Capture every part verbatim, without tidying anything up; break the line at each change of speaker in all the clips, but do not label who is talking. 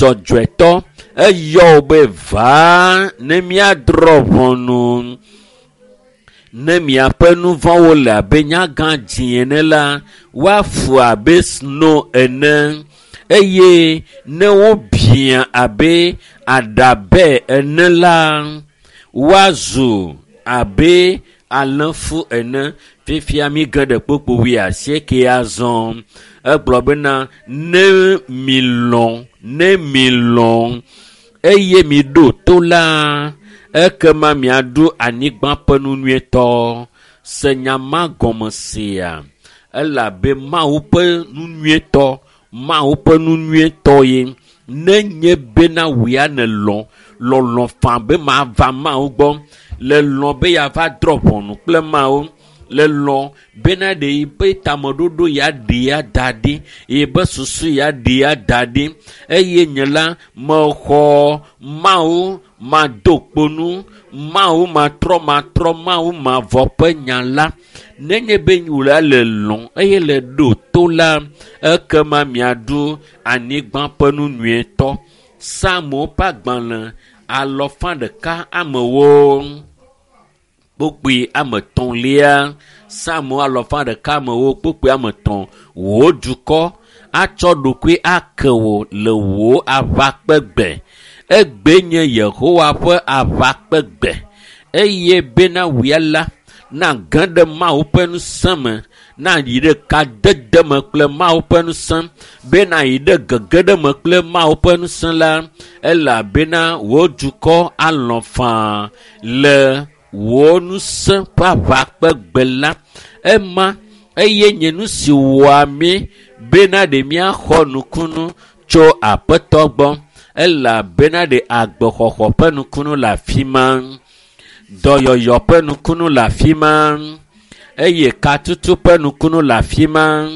Dzɔdzɔetɔ eyɔ wo be vaa ne míadrɔ̃ ʋɔnu. Ne miaƒe nu vɔ̃wo le abe nyagã dzĩ ene la, woafu abe sno ene eye ne wobiã abe aɖabɛ ene la, woazu abe alẽfu ene. Fifia mi ge ɖe kpukpui wuiasieke azɔ. Egblɔ bena ne milɔ̃, ne milɔ̃ eye miɖo to la, ekema miaɖu anyigba ƒe nu nyuietɔ. Se nya ma gɔme sia elabe Mawu ƒe nu nyuietɔ, Mawu ƒe nu nyuietɔ ye. Ne nye bena wòya nèlɔ̃, lɔlɔ̃ faa be mava Mawu gbɔ, le lɔ̃ be yeava drɔ̃ ʋɔnu kple Mawu, le lɔ̃ bena ɖe yi ƒe tameɖoɖo ya ɖe ya da ɖi, yi be susu ya ɖe ya da ɖi eye nye la mexɔ Mawu mado kponu, Mawu matrɔ matrɔ, Mawu mavɔ ƒe nya la. Nenye be wòla le lɔ̃ eye le ɖo to la, ekema miaɖu anyigba ƒe nu nyuietɔ. Psalmo ƒe agbalẽ alɔfa ɖeka amewo kpukpui ame etɔ̃lia. Psalmo alɔfa ɖeka amewo kpukpui ame etɔ̃. Wò dukɔ atsɔ ɖokui ake wò le wò aʋakpegbe. Egbe nye Yehowa ƒe aʋakpegbe eye bena wòya la nage ɖe Mawu ƒe ŋusẽ me, nayi ɖe kadede me kple Mawu ƒe ŋusẽ, bena yi ɖe gege ɖe me kple Mawu ƒe ŋusẽ la, elabena wò dukɔ alɔ̃ faa le wò ŋusẽ ƒe aʋakpegbe la. Ema eye nye nu si wɔa mí bena ɖe míaxɔ nukunu tso Aƒetɔ gbɔ, elabena ɖe agbexɔxɔ ƒe nukunu le afi ma, dɔyɔyɔ ƒe nukunu le afi ma, eye katutu ƒe nukunu le afi ma,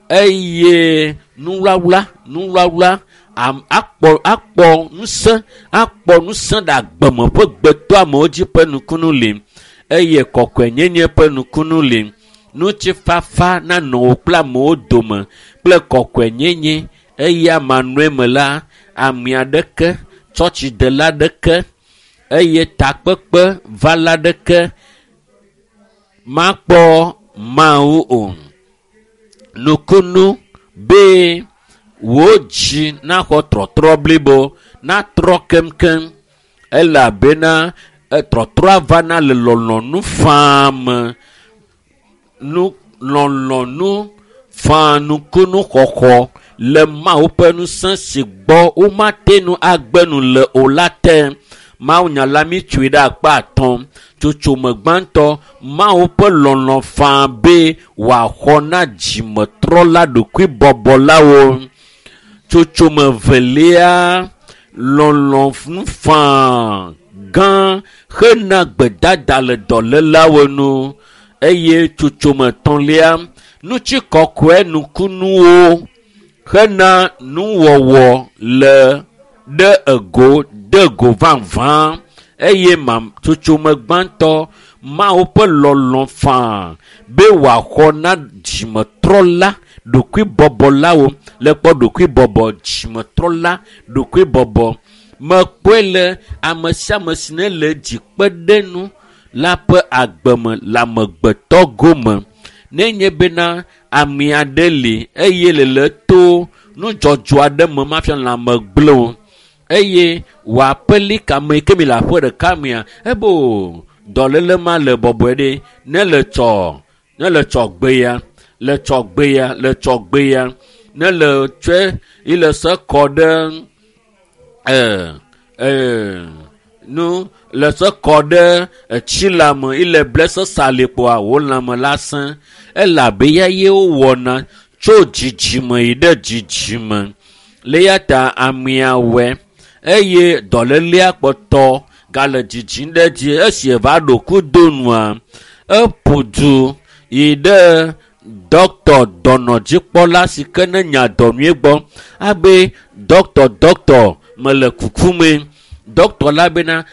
eye nuwlawla, nuwlawla am, akpɔ, akpɔ ŋusẽ, akpɔ ŋusẽ ɖe agbeme ƒe gbetɔamewo dzi ƒe nukunu li, eye kɔkɔenyenye ƒe nukunu li. Ŋutifafa nanɔ wò kple amewo dome kple kɔkɔenyenye eye amanɔe me la, ame aɖeke, tsɔtsidela aɖeke eye takpekpe vala aɖeke makpɔ Mawu o. Nukunu be wò dzi naxɔ trɔtrɔ blibo, natrɔ keŋkeŋ elabena trɔtrɔa vana le lɔlɔ̃nu faa me. Nu lɔlɔ̃nu faa nukunu xɔxɔ le Mawu ƒe ŋusẽ si gbɔ womate ŋu agbe nu le o la te. Mawu nya la mi tsoe ɖe akpa atɔ̃. Tsotsome gbãtɔ, Mawu ƒe lɔlɔ̃ faa be wòaxɔ na dzimetrɔla ɖokuibɔbɔlawo. Tsotsome velia, lɔlɔ̃nu faa gã hena gbedada le dɔlélawo nu. Eye tsotsome etɔ̃lia, ŋutikɔkɔe nukunuwo hena nuwɔwɔ le ɖe ego de go vavã. Eye ma tsotsome gbãtɔ, Mawu ƒe lɔlɔ̃ faa be wòaxɔ na dzimetrɔla ɖokuibɔbɔlawo. Le kpɔ ɖokuibɔbɔ, dzimetrɔla ɖokuibɔbɔ. Mekpɔe le ame sia ame si ne le dzi kpe ɖe nu la ƒe agbeme le amegbetɔ gome. Nenye bena ame aɖe li eye le le to nudzɔdzɔ aɖe me mafia lãme gblẽ o eye wòaƒeli kame yi ke mi le aƒe ɖeka mea, ebo dɔléle ma le bɔbɔe ɖe ne le tsɔ, ne le tsɔ gbe ya, le tsɔ gbe ya, le tsɔ gbe ya, ne le tsɔe yi le se kɔ ɖe, e, e, nu le se kɔ ɖe etsi lãme yi le ble sesa li kpoa wò lãme la sẽ. Elabe ya ye wowɔna tso dzidzime yi ɖe dzidzime. Le ya ta amea wɔe eye dɔlélea kpɔtɔ gale dzidzim ɖe edzi. Esi eva ɖo kudo nua, eƒo du yi ɖe dɔktɔ dɔnɔdzikpɔla si ke ne nya dɔ nyuie gbɔ abe dɔktɔ, dɔktɔ mele kuku me. Dɔktɔ la bena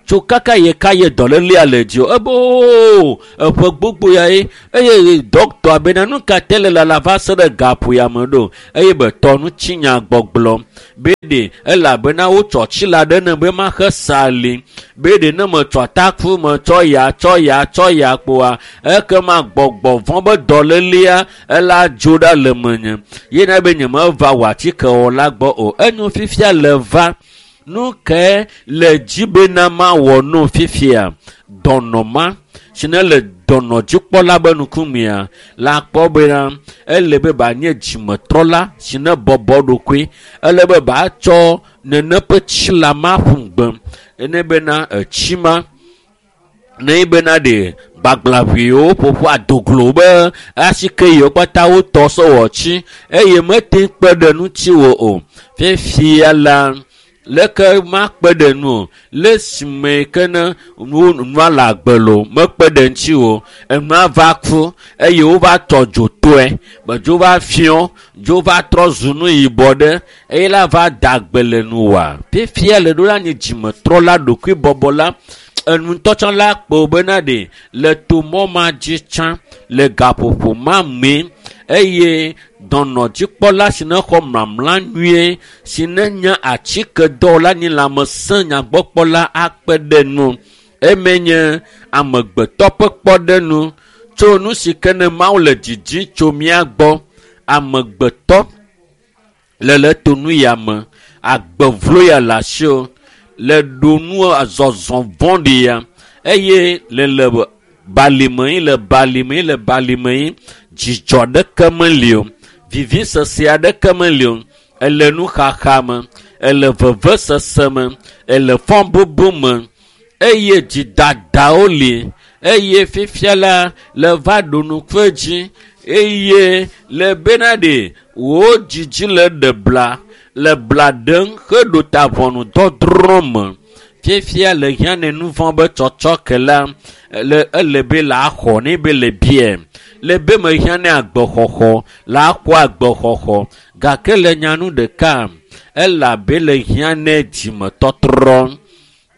Tso kaka ye ka ye dɔlélia le dzi o ebe oo eƒe gbogbo ya ye eye dɔkitɔa bena nu ka te le lala va se ɖe gaƒo ya me ɖo eye be tɔ ŋutinya gbɔgblɔ be ɖe elabena wotsɔ tsi la ɖe ne be maxe sa li be ɖe ne metsɔ ataku metsɔ ya tsɔ ya tsɔ ya kpoa ekema gbɔgbɔ vɔ̃ be dɔlélia ela dzo ɖa le menye yena be nyemeva wɔ atikewɔla gbɔ o enyo fifia le va nu ke le dzi bena mawɔ nu fifia dɔnɔ ma si ne le dɔnɔdzikpɔla be nukumea la kpɔ bena ele be ba nye dzimetrɔla si ne bɔbɔ ɖokui ele be ba tsɔ nene ƒe tsi la ma ƒu gbe ene bena etsi ma ne bena ɖe gbagblãʋuiwo ƒoƒu adoglo be asike yiwo kpata wotɔ sɔwɔ tsi eye mete kpe ɖe ŋuti wo o fifia la leke makpe ɖe nu o le sime ke ne nua le agbe lo mekpe ɖe ŋuti o enua va ku eye wova tɔ dzo toe be dzo va fiɔ dzo va trɔ zu nu yibɔ ɖe eye la va da agbe le nu wa fifia le ɖo la nye dzimetrɔla ɖokuibɔbɔla enu ŋutɔ la kpɔ bena ɖe le to mɔ ma dzi tsã le gaƒoƒo ma me eye dɔnɔdzikpɔla si ne xɔ mlamla nyuie si ne nye atikedɔwɔla nyi lãmesẽ nyagbɔkpɔla akpe ɖe nu eme nye amegbetɔ ƒe kpɔɖenu tso nu si ke ne Mawu le dzidzi tso mía gbɔ amegbetɔ le le to nu ya me agbevlo ya le asi o le ɖo nu azɔzɔ vɔ̃ɖi ya eye le le balime yi le balime yi le balime yi dzidzɔ ɖeke meli o vivisese aɖeke meli o ele nuxaxa me ele vevesese me ele fɔbubu me eye dzidadawo li eye fifia la le va ɖo nukue dzi eye le bena ɖe wò dzidzi le ɖe bla le bla ɖem heɖo ta ʋɔnudɔdrɔ̃ me fifia le hiã ne nu vɔ̃ be tsɔtsɔ ke la le ele be la xɔ ne be le bie le be mehiã ne agbexɔxɔ la xɔ agbexɔxɔ gake le nyanu ɖeka elabe le hiã ne dzimetɔtrɔ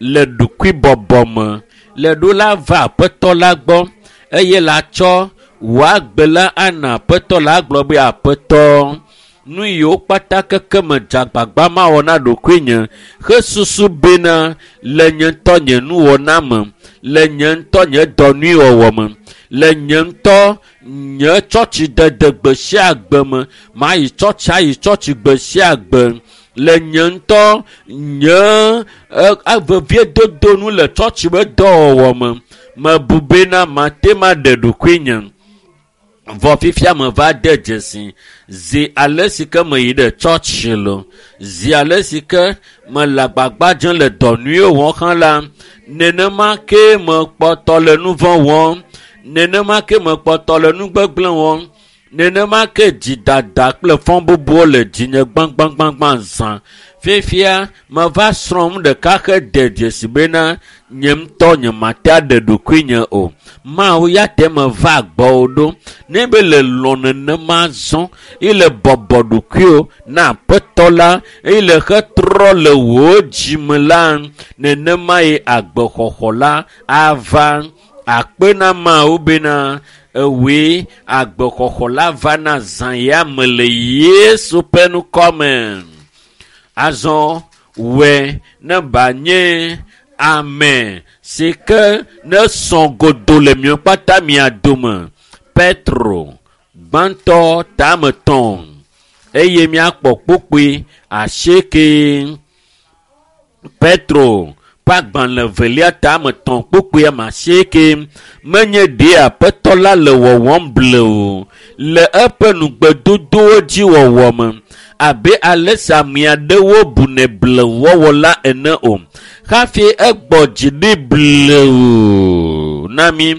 le ɖokuibɔbɔ me le ɖo la va aƒetɔ la gbɔ eye la tsɔ wò agbe la ana aƒetɔ la agblɔ be aƒetɔ nu yiwo kpata keke me dze agbagba mawɔ na ɖokuinye hesusu bena le nye ŋutɔ nye nuwɔna me le nye ŋutɔ nye dɔ nyuiwɔwɔ me le nye ŋutɔ nye tsɔtsidede gbe sia gbe me mayi tsɔtsi ayi tsɔtsi gbe sia gbe le nye ŋutɔ nye veviedodo nu le tsɔtsi be dɔwɔwɔ me mebu bena mate ma ɖe ɖokuinye vɔ fifia me va de dzesi zi ale si ke meyi ɖe tsɔtsi lo zi ale si ke mele agbagba dzem le dɔ nyuiwo wɔm hã la nenema ke mekpɔtɔ le nu vɔ̃ wɔm nenema ke mekpɔtɔ le nu gbegblẽ wɔm nenema ke dzidada kple fɔbubuwo le dzinye gbãgbãgbãgbã zã fifia meva srɔ̃ nu ɖeka hede dzesi bena nye ŋutɔ nyemate aɖe ɖokuinye o Mawu ya te meva gbɔwò ɖo ne be le lɔ̃ nenema zɔ eye le bɔbɔ ɖokuiwò na aƒetɔ la eye le hetrɔ le wò dzime la nenema ye agbexɔxɔ la ava akpe na Mawu bena ewòe agbexɔxɔ la va na zã ya me le Yesu ƒe ŋkɔme. Azɔ wɔe ne ba nye ame si ke ne sɔ godo le miɔ kpata mia dome Petro gbãtɔ tame tɔn eye miakpɔ kpukpui asieke. Petro ƒe agbalẽ velia tame tɔn kpukpui ame asieke menye ɖe aƒetɔ la le wɔwɔm ble o le eƒe nugbedodowo dzi wɔwɔ me abe ale si ame aɖewo bunɛ blewɔwɔ la ene o hafi egbɔ dzi ɖi blewu na mi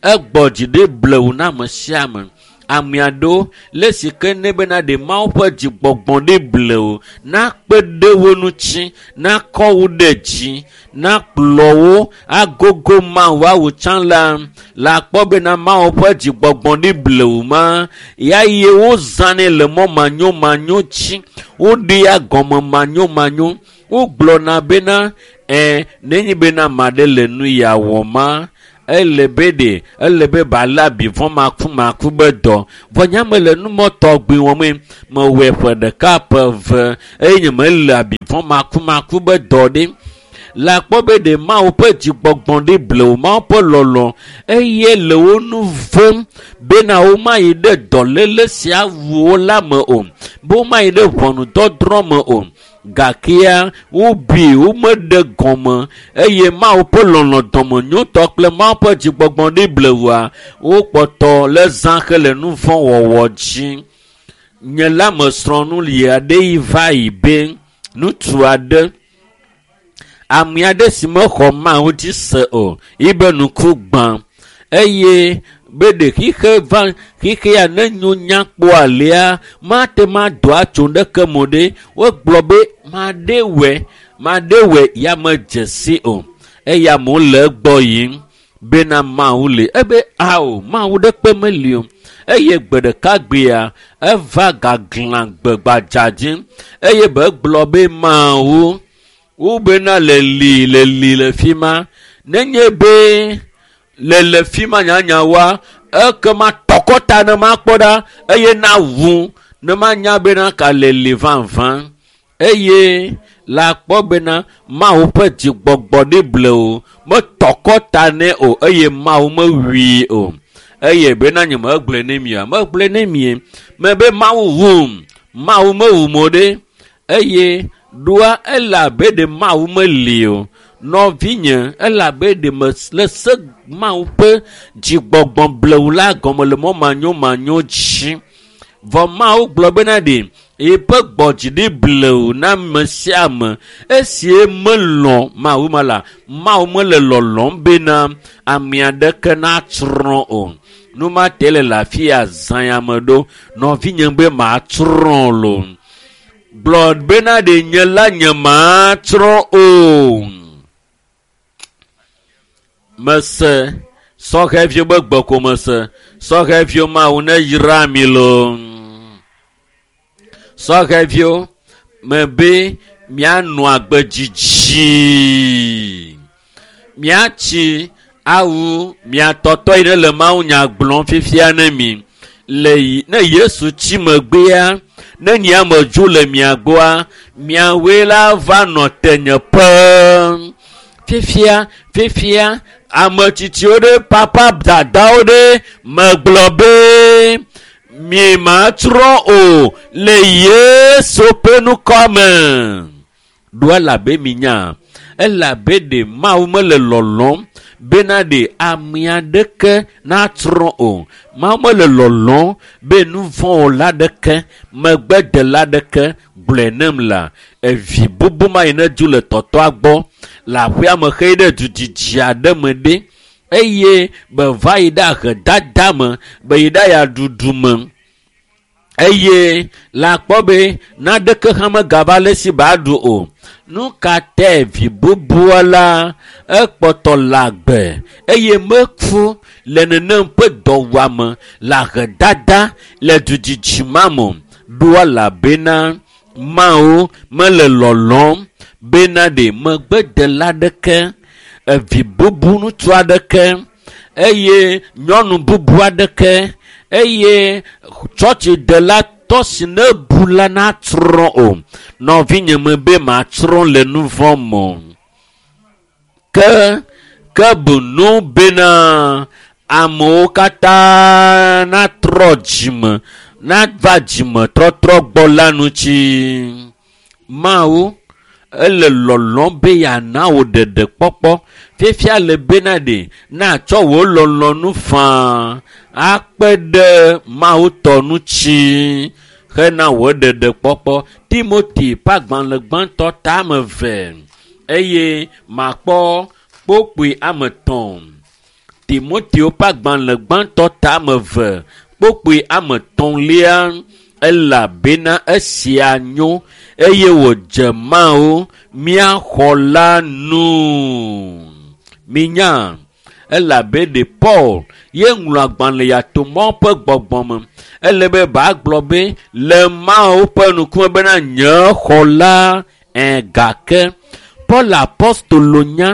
egbɔ dzi ɖi blewu na ame sia ame ame aɖewo le si ke ne bena ɖe Mawu ƒe dzigbɔgbɔ ɖi blewu nakpe ɖe wo ŋuti nakɔ wo ɖe dzi nakplɔ wo agogo Mawu awu tsã la la kpɔ bena Mawu ƒe dzigbɔgbɔ ɖi blewu ma ya ye wozãnɛ le mɔ manyomanyo dzi woɖea gɔme manyomanyo Wogblɔna bena ɛ nenye bena ame aɖe le nu ya wɔma ele be ɖe ele be bala abivɔ makumaku be dɔ. Vɔ nye mele numɔ tɔgbi wɔm mewɔe ƒe ɖeka ƒe eve eye nye mele abivɔ makumaku be dɔ ɖe. Le akpɔ be ɖe Mawu ƒe dzigbɔgbɔ ɖe blewu, Mawu ƒe lɔlɔ eye le wo nu vem bena womayi ɖe dɔléle sia wu wo la me o, be womayi ɖe ʋɔnudɔdrɔ̃ me o. Gakea wobui womeɖe gɔme eye Mawu ƒe lɔlɔ dɔmenyotɔ kple Mawu ƒe dzigbɔgbɔ ɖe blewua wokpɔtɔ le zã hele nu vɔ̃ wɔwɔ dzi. Nye la mesrɔ̃ nu li aɖe yi va yi be ŋutsu aɖe ame aɖe si mexɔ Mawu dzi se o yibe ŋku gbã eye be ɖe xixe va xixea ne nyo nyakpɔ alea mate ma do atso ɖeke mo ɖe wogblɔ be maɖe wɔ maɖe wɔ ya medze si o eye amewo le egbɔ yim bena Mawu li ebe ao Mawu ɖekpe meli o eye gbe ɖeka gbea eva gaglã gbe gbadza dzi eye be gblɔ be Mawu wo bena le li le li le fi ma nenye be le le fi ma nyanyawoa ekema tɔkɔta ne makpɔ ɖa eye na wu ne manya bena ka le li vavã eye le akpɔ bena Mawu ƒe dzigbɔgbɔ ɖe ble o metɔkɔta nɛ o eye Mawu mewui o eye bena nye megblɔe ne mia megblɔe ne mie me be Mawu wum Mawu mewum o ɖe eye ɖoa ele abe ɖe Mawu meli o. Nɔvinye ele abe ɖe le se Mawu ƒe dzigbɔgbɔ blewu la gɔme le mɔ manyomanyo dzi. Vɔ Mawu gblɔ bena ɖe yeƒe gbɔdzi ɖi blewu na ame sia ame esie melɔ̃ Mawu ma la Mawu mele lɔlɔ̃m bena ame aɖeke natsrɔ̃ o. Nu ma te le le afi ya zã ya me ɖo nɔvinye be matsrɔ̃ lo. Gblɔ bena ɖe nye la nye matsrɔ̃ o. Mese sɔhɛviwo be gbe ko mese sɔhɛviwo Mawu ne yra mi lo. Sɔhɛviwo mebe mianɔ agbe dzidzi miatsi awu miatɔtɔ yi ɖe le Mawu nya gblɔm fifia ne mi le ne Yesu tsi megbea ne nye amedzo le mia gbɔa miawoe la va nɔ tenyeƒe. Fifia fifia ame tsitsiwo ɖe papa dadawo ɖe megblɔ be mi matsrɔ̃ o le Yesu ƒe ŋkɔ me. Ɖo elabe mi nya elabe ɖe Mawu mele lɔlɔm bena ɖe ame aɖeke natsrɔ̃ o. Mawu mele lɔlɔm be nu vɔ̃wɔla ɖeke megbedela ɖeke gblɔe nem la evi bubu ma yi ne du le tɔtɔa gbɔ le aƒea me xeyi ɖe du dzidzi aɖe me ɖe eye be va yi ɖe ahedada me be yi ɖe ayaɖuɖu me eye le akpɔ be naɖeke hã megava le si ba ɖu o. Nu ka tae vi bubua la ekpɔtɔ le agbe eye meku le nenem ƒe dɔwɔame le ahedada le dudzidzi ma me o. Ɖoa elabena Mawu mele lɔlɔm bena ɖe megbedela ɖeke evi bubu ŋutsu aɖeke eye nyɔnu bubu aɖeke eye tsɔtsidela tɔ si ne bu la natsrɔ̃ o. Nɔvinye me be matsrɔ̃ le nu vɔ̃ me o. Ke ke bu nu bena amewo katã natrɔ dzime nava dzime trɔtrɔ gbɔ la ŋuti. Mawu ele lɔlɔm be yeana wò ɖeɖekpɔkpɔ fifia le bena ɖe natsɔ wò lɔlɔ̃nu faa akpe ɖe Mawu tɔ ŋuti hena wò ɖeɖekpɔkpɔ. Timoti ƒe agbalẽ gbãtɔ tame eve eye makpɔ kpokpoe ame etɔ̃. Timoteo ƒe agbalẽ gbãtɔ tame eve kpokpoe ame etɔ̃lia elabena esia nyo eye wòdze Mawu mía xɔla nu. Minya elabe ɖe Paul ye ŋlɔ agbalẽ ya to Mawu ƒe gbɔgbɔ me. Ele be bagblɔ be le Mawu ƒe ŋkume bena nye xɔla Ẽ gake Paul apostolo nya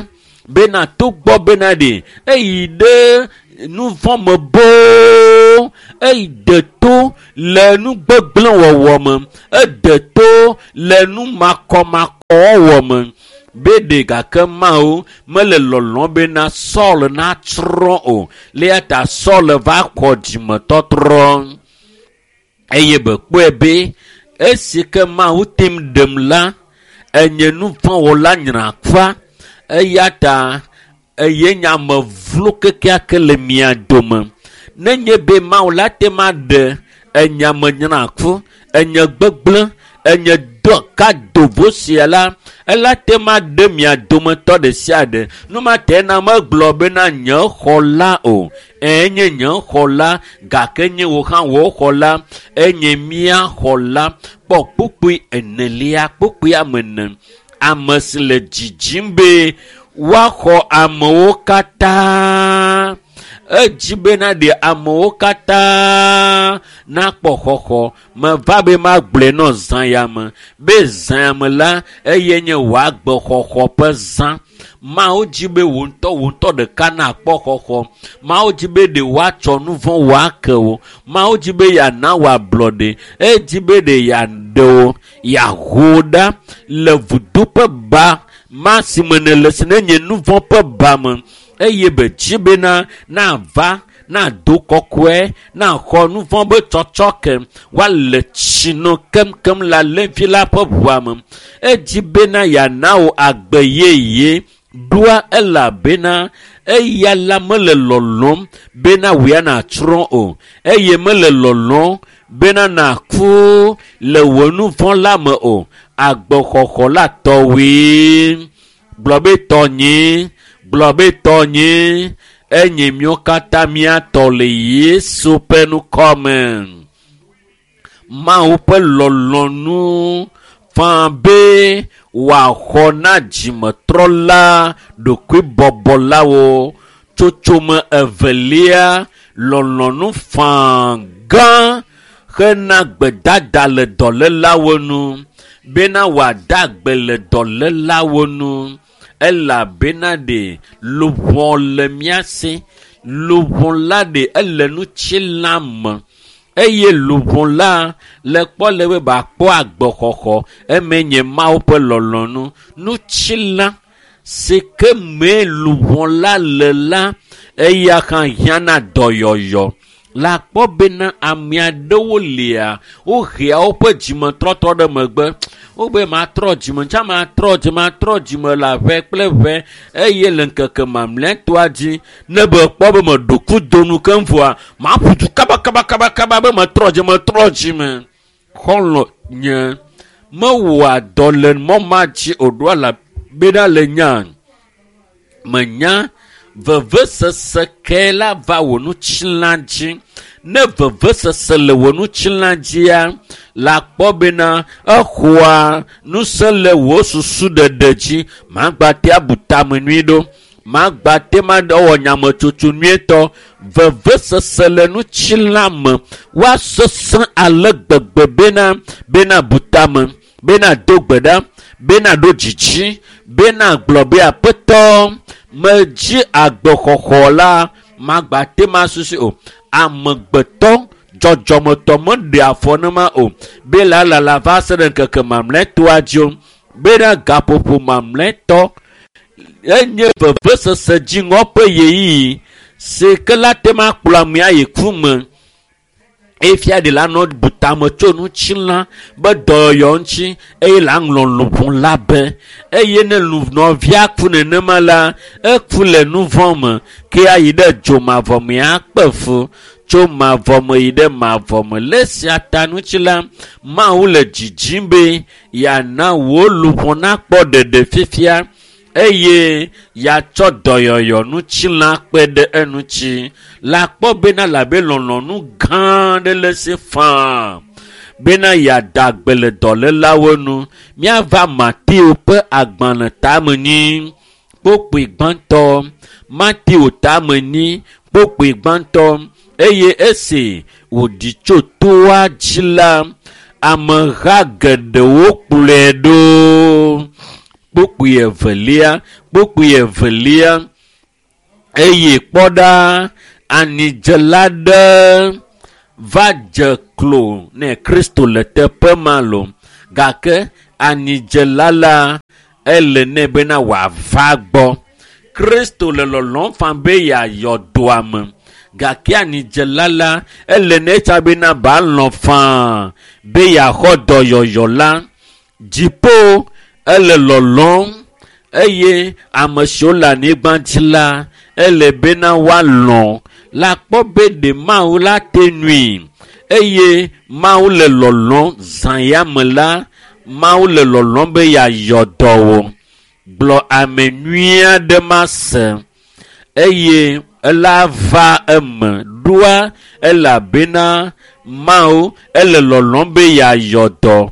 bena togbɔ bena ɖe eyi ɖe nu vɔ̃ me boo, eyi de to le nu gbegblẽ wɔwɔ me, ede to le nu makɔmakɔwɔwɔ me. Be ɖe gake Mawu mele lɔlɔ̃ bena Saul natsrɔ̃ o. Le eya ta Saul va xɔ dzimetɔtrɔ. Eye be kpɔe be esi ke Mawu tem ɖem la, enye nu vɔ̃ wɔla nyrakpa. Eya ta eye nye ame vlo kekeake le mia dome. Nenye be Mawu la te ma ɖe enye ame nyraku, enye gbegblẽ, enye dɔ ka dovo sia la, ela te ma ɖe mia dometɔ ɖe sia ɖe. Nu ma te na megblɔ bena nye xɔla o. Enye nye xɔla, gake nye wò hã wò xɔla, enye mía xɔla. Kpɔ kpukpui enelia, kpukpui ame ene. Ame si le dzidzim be woaxɔ amewo katã. Edzi bena ɖe amewo katã nakpɔ xɔxɔ. Meva be magblɔe nɔ zã ya me. Be zã ya me la, eye nye wò agbexɔxɔ ƒe zã. Mawu dzi be wò ŋutɔ wò ŋutɔ ɖeka nakpɔ xɔxɔ. Mawu dzi be ɖe woatsɔ nu vɔ̃ wòake wò. Mawu dzi be yeana wò ablɔɖe. Edzi be ɖe yeaɖe wò, yeaho ɖa le vudo ƒe ba ma si me nèle si nenye nu vɔ̃ ƒe ba me. Eye be dzi bena nava, nado kɔkɔe, naxɔ nu vɔ̃ be tsɔtsɔ ke, woale tsi no keŋkeŋ le alẽvi la ƒe ʋua me. Edzi bena yeana wò agbe yeye. Ɖoa elabena eya la mele lɔlɔ̃m bena wò ya nàtsrɔ̃ o. Eye mele lɔlɔ̃m bena nàku le wò nu vɔ̃ la me o. Agbexɔxɔ la tɔwòe. Gblɔ be tɔnye, gblɔ be tɔnye, enye míawo katã míatɔ le Yesu ƒe ŋkɔme. Mawu ƒe lɔlɔ̃nu faa be wòaxɔ na dzimetrɔla ɖokuibɔbɔlawo. Tsotsome evelia, lɔlɔ̃nu faa gã hena gbedada le dɔlélawo nu bena wòada gbe le dɔlélawo nu. Elabena ɖe luʋɔ le mía si. Luʋɔ la ɖe ele ŋutilã me. Eye luʋɔ la le kpɔ le be bakpɔ agbexɔxɔ. Eme nye Mawu ƒe lɔlɔ̃nu. Ŋutilã si ke mee luʋɔ la le la, eya hã hiãna dɔyɔyɔ. La kpɔ bena ame aɖewo lia, wohea woƒe dzimetɔtrɔ ɖe megbe. Wobe matrɔ dzime, tsa matrɔ dzime, matrɔ dzime le aʋe kple ʋe. Eye le ŋkeke mamlɛtɔa dzi, ne be kpɔ be meɖo kudo nu keŋ vɔa, maƒu du kaba kaba kaba kaba be metrɔ dzime, metrɔ dzime. Xɔlɔ̃ nye mewɔa dɔ le mɔ ma dzi o, ɖoa la bena le nya menya vevesese ke la va wò ŋutilã dzi. Ne vevesese le wò ŋutilã dzia, la kpɔ bena exɔa ŋusẽ le wò susu ɖeɖe dzi. Magba te abu tame nyui ɖo. Magba te ma wɔ nyametsotso nyuietɔ. Vevesese le ŋutilã me woasesẽ ale gbegbe bena, bena bu tame, bena do gbe ɖa, bena ɖo dzidzi, bena gblɔ be aƒetɔ medzi agbexɔxɔ la, magba te ma susu o. Amegbetɔ dzɔdzɔmetɔ meɖe afɔ nema o. Be la la la va se ɖe ŋkeke mamlɛtɔa dzi o. Bena gaƒoƒo mamlɛtɔ enye vevesese dziŋɔ ƒe ɣeyiɣi si ke la te ma kplɔ amea yi ku me. Efia ɖe la nɔ bu tame tso ŋutilã be dɔyɔyɔ ŋuti eye la ŋlɔ luʋɔ la be. Eye ne nɔvia ku nenema la, eku le nu vɔ̃ me ke ayi ɖe dzomavɔ me akpe fu tso mavɔ me yi ɖe mavɔ me. Le esia ta ŋuti la, Mawu le dzidzim be yeana wò luʋɔ nakpɔ ɖeɖe fifia eye yeatsɔ dɔyɔyɔ ŋutilã kpe ɖe eŋuti. La kpɔ bena labe lɔlɔ̃nu gã aɖe le esi faa bena yeada gbe le dɔlélawo nu. Míava Mateo ƒe agbalẽ tame nyi kpokpoe gbãtɔ. Mateo tame nyi kpokpoe gbãtɔ. Eye esi wòɖi tso toa dzi la, Ameha geɖewo kplɔe ɖo. Kpukpui evelia, kpukpui evelia. Eye kpɔ ɖa, anidzela ɖe va dze klo ne Kristo le teƒe ma lo. Gake anidzela la ele nɛ bena wòava gbɔ. Kristo le lɔlɔ̃m faa be yeayɔ dɔa me. Gake anidzela la ele nɛ tsa bena ba lɔ̃ faa be yeaxɔ dɔyɔyɔ la. Dziƒo ele lɔlɔ̃m eye ame siwo le anyigba dzi la ele bena woalɔ̃ la kpɔ be ɖe Mawu la te nui eye Mawu le lɔlɔ̃m zã ya me la Mawu le lɔlɔ̃m be yeayɔ dɔ wò. Gblɔ ame nyui aɖe mase eye ela va eme ɖoa elabena Mawu ele lɔlɔ̃m be yeayɔ dɔ.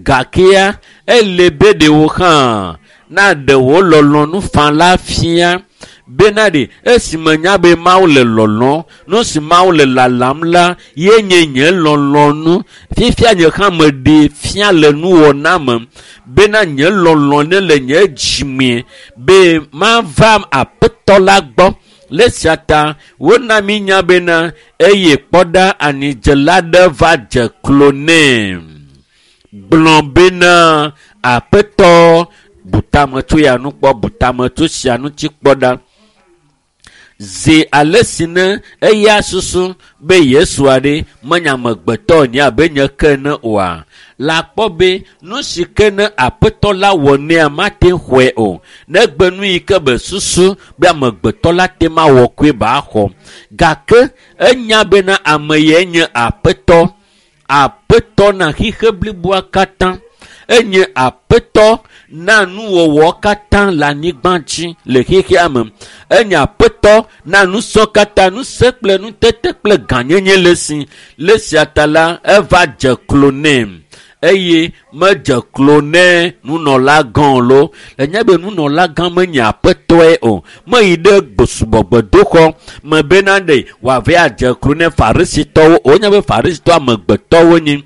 Gakea ele be ɖewo hã naɖe wò lɔlɔ̃nu faa la fia bena ɖe esime nya be Mawu le lɔlɔ̃m, nu si Mawu le lalam la ye nye nye lɔlɔ̃nu. Fifia nye hã meɖee fia le nuwɔna me bena nye lɔlɔ̃ ne le nye dzime be mava Aƒetɔ la gbɔ. Le esia ta wona mi nya bena eye kpɔ ɖa anidzela ɖe va dze klo nɛ. Gblɔ bena Aƒetɔ butame tso ya nu kpɔ, butame tso sia ŋuti kpɔ ɖa. Zi ale si ne eya susu be Yesu aɖe menye amegbetɔ nye abe nye ke ene oa, la kpɔ be nu si ke ne Aƒetɔ la wɔ nɛa mate xɔe o. Negbe nu yi ke be susu be amegbetɔ la te mawɔ koe ba xɔ. Gake enya bena ame yae nye Aƒetɔ. Aƒetɔ na xixe bliboa katã. Enye Aƒetɔ na nuwɔwɔ katã le anyigba dzi le xexea me. Enye Aƒetɔ na nusɔ katã, nusẽ kple nutete kple gãnyenye le esi. Le esia ta la, eva dze klo nɛ eye medze klo nɛ nunɔlagã lo. Enye be nunɔlagã menye Aƒetɔe o. Meyi ɖe subɔgbedoxɔ me bena ɖe wòava adze klo nɛ Farisitɔwo o. Enye be Farisitɔ amegbetɔwo nyi.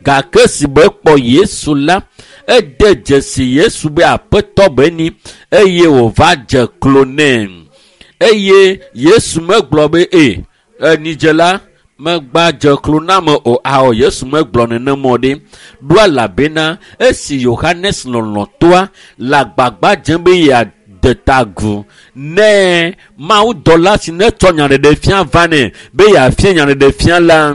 Gake si be kpɔ Yesu la, ede dzesi Yesu be Aƒetɔ be ni eye wòva dze klo nɛ. Eye Yesu megblɔ be e enidzela megba dze klo na me o. Ao, Yesu megblɔ nenema o ɖe. Ɖo elabena esi Yohanes lɔlɔ̃tɔa le agbagba dzem be yeade ta agu ne mawudɔla si netsɔ nyaɖeɖefia va nɛ be yeafia nyaɖeɖefia la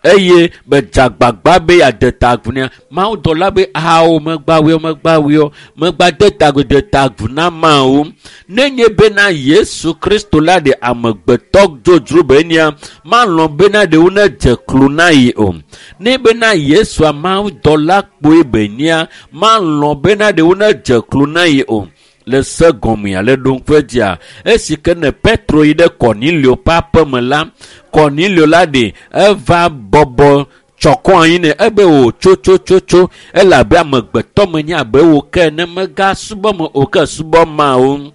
eye be dze agbagba be yeade ta agu nɛ. Mawudɔla be ao megba wɔ megba wɔ megba de ta agu de ta agu na Mawu. Nenye bena Yesu Kristo la ɖe amegbetɔ dzodzro be nia malɔ̃ bena ɖewo nedze klo na yi o. Ne bena Yesua mawudɔla kpoe be nia malɔ̃ bena ɖewo nedze klo na yi o. Le se gɔmea le ɖoŋƒe dzia esi ke ne Petro yi ɖe Kɔnilio ƒe aƒeme la, Kɔnilio la ɖe eva bɔbɔ tsɔkɔ anyi nɛ ebe wò tso tso tso tso elabe amegbetɔ menye abe wò ke ne megasubɔ me o ke subɔ Mawu.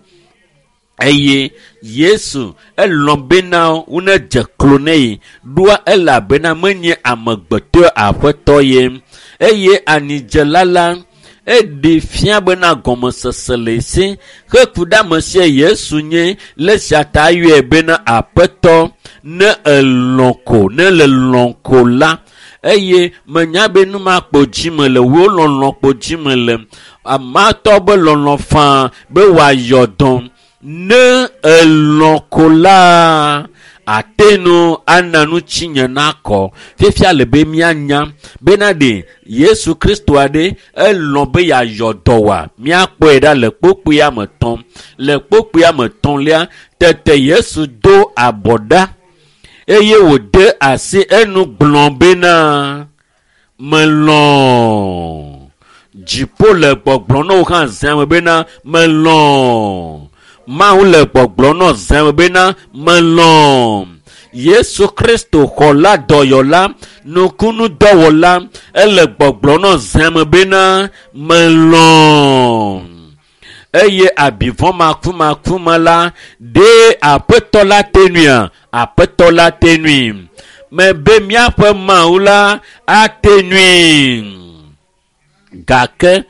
Eye Yesu elɔ̃ bena wonedze klo nɛ yi ɖoa elabena menye amegbetɔe Aƒetɔ ye. Eye anidzela la eɖe fia bena gɔmesese le esi heku ɖe ame sia Yesu nye le esia ta yɔe bena Aƒetɔ ne elɔ̃ ko ne le lɔ̃ ko la eye menya be nu ma kpo dzime le wò lɔlɔ̃ kpo dzime le amatɔ be lɔlɔ̃ faa be wòayɔ dɔ ne elɔ̃ ko la ate nu ana nu tsinye nakɔ. Fifia le be míanya bena ɖe Yesu Kristo aɖe elɔ̃ be yeayɔ dɔ wòa míakpɔe ɖa le kpukpuia me tɔm. Le kpukpuia me tɔ̃lia tete Yesu do abɔ ɖa eye wòde asi enu gblɔ bena melɔ̃. Dziƒo le gbɔgblɔ na wò hã zã me bena melɔ̃. Mawu le gbɔgblɔ na zã me bena melɔ̃. Yesu Kristo xɔla dɔyɔla nukunudɔwɔla ele gbɔgblɔ na zã me bena melɔ̃. Eye abivɔ makumaku me la ɖe Aƒetɔ la te nuia? Aƒetɔ la te nui. Mebe míaƒe Mawu la ate nui. Gake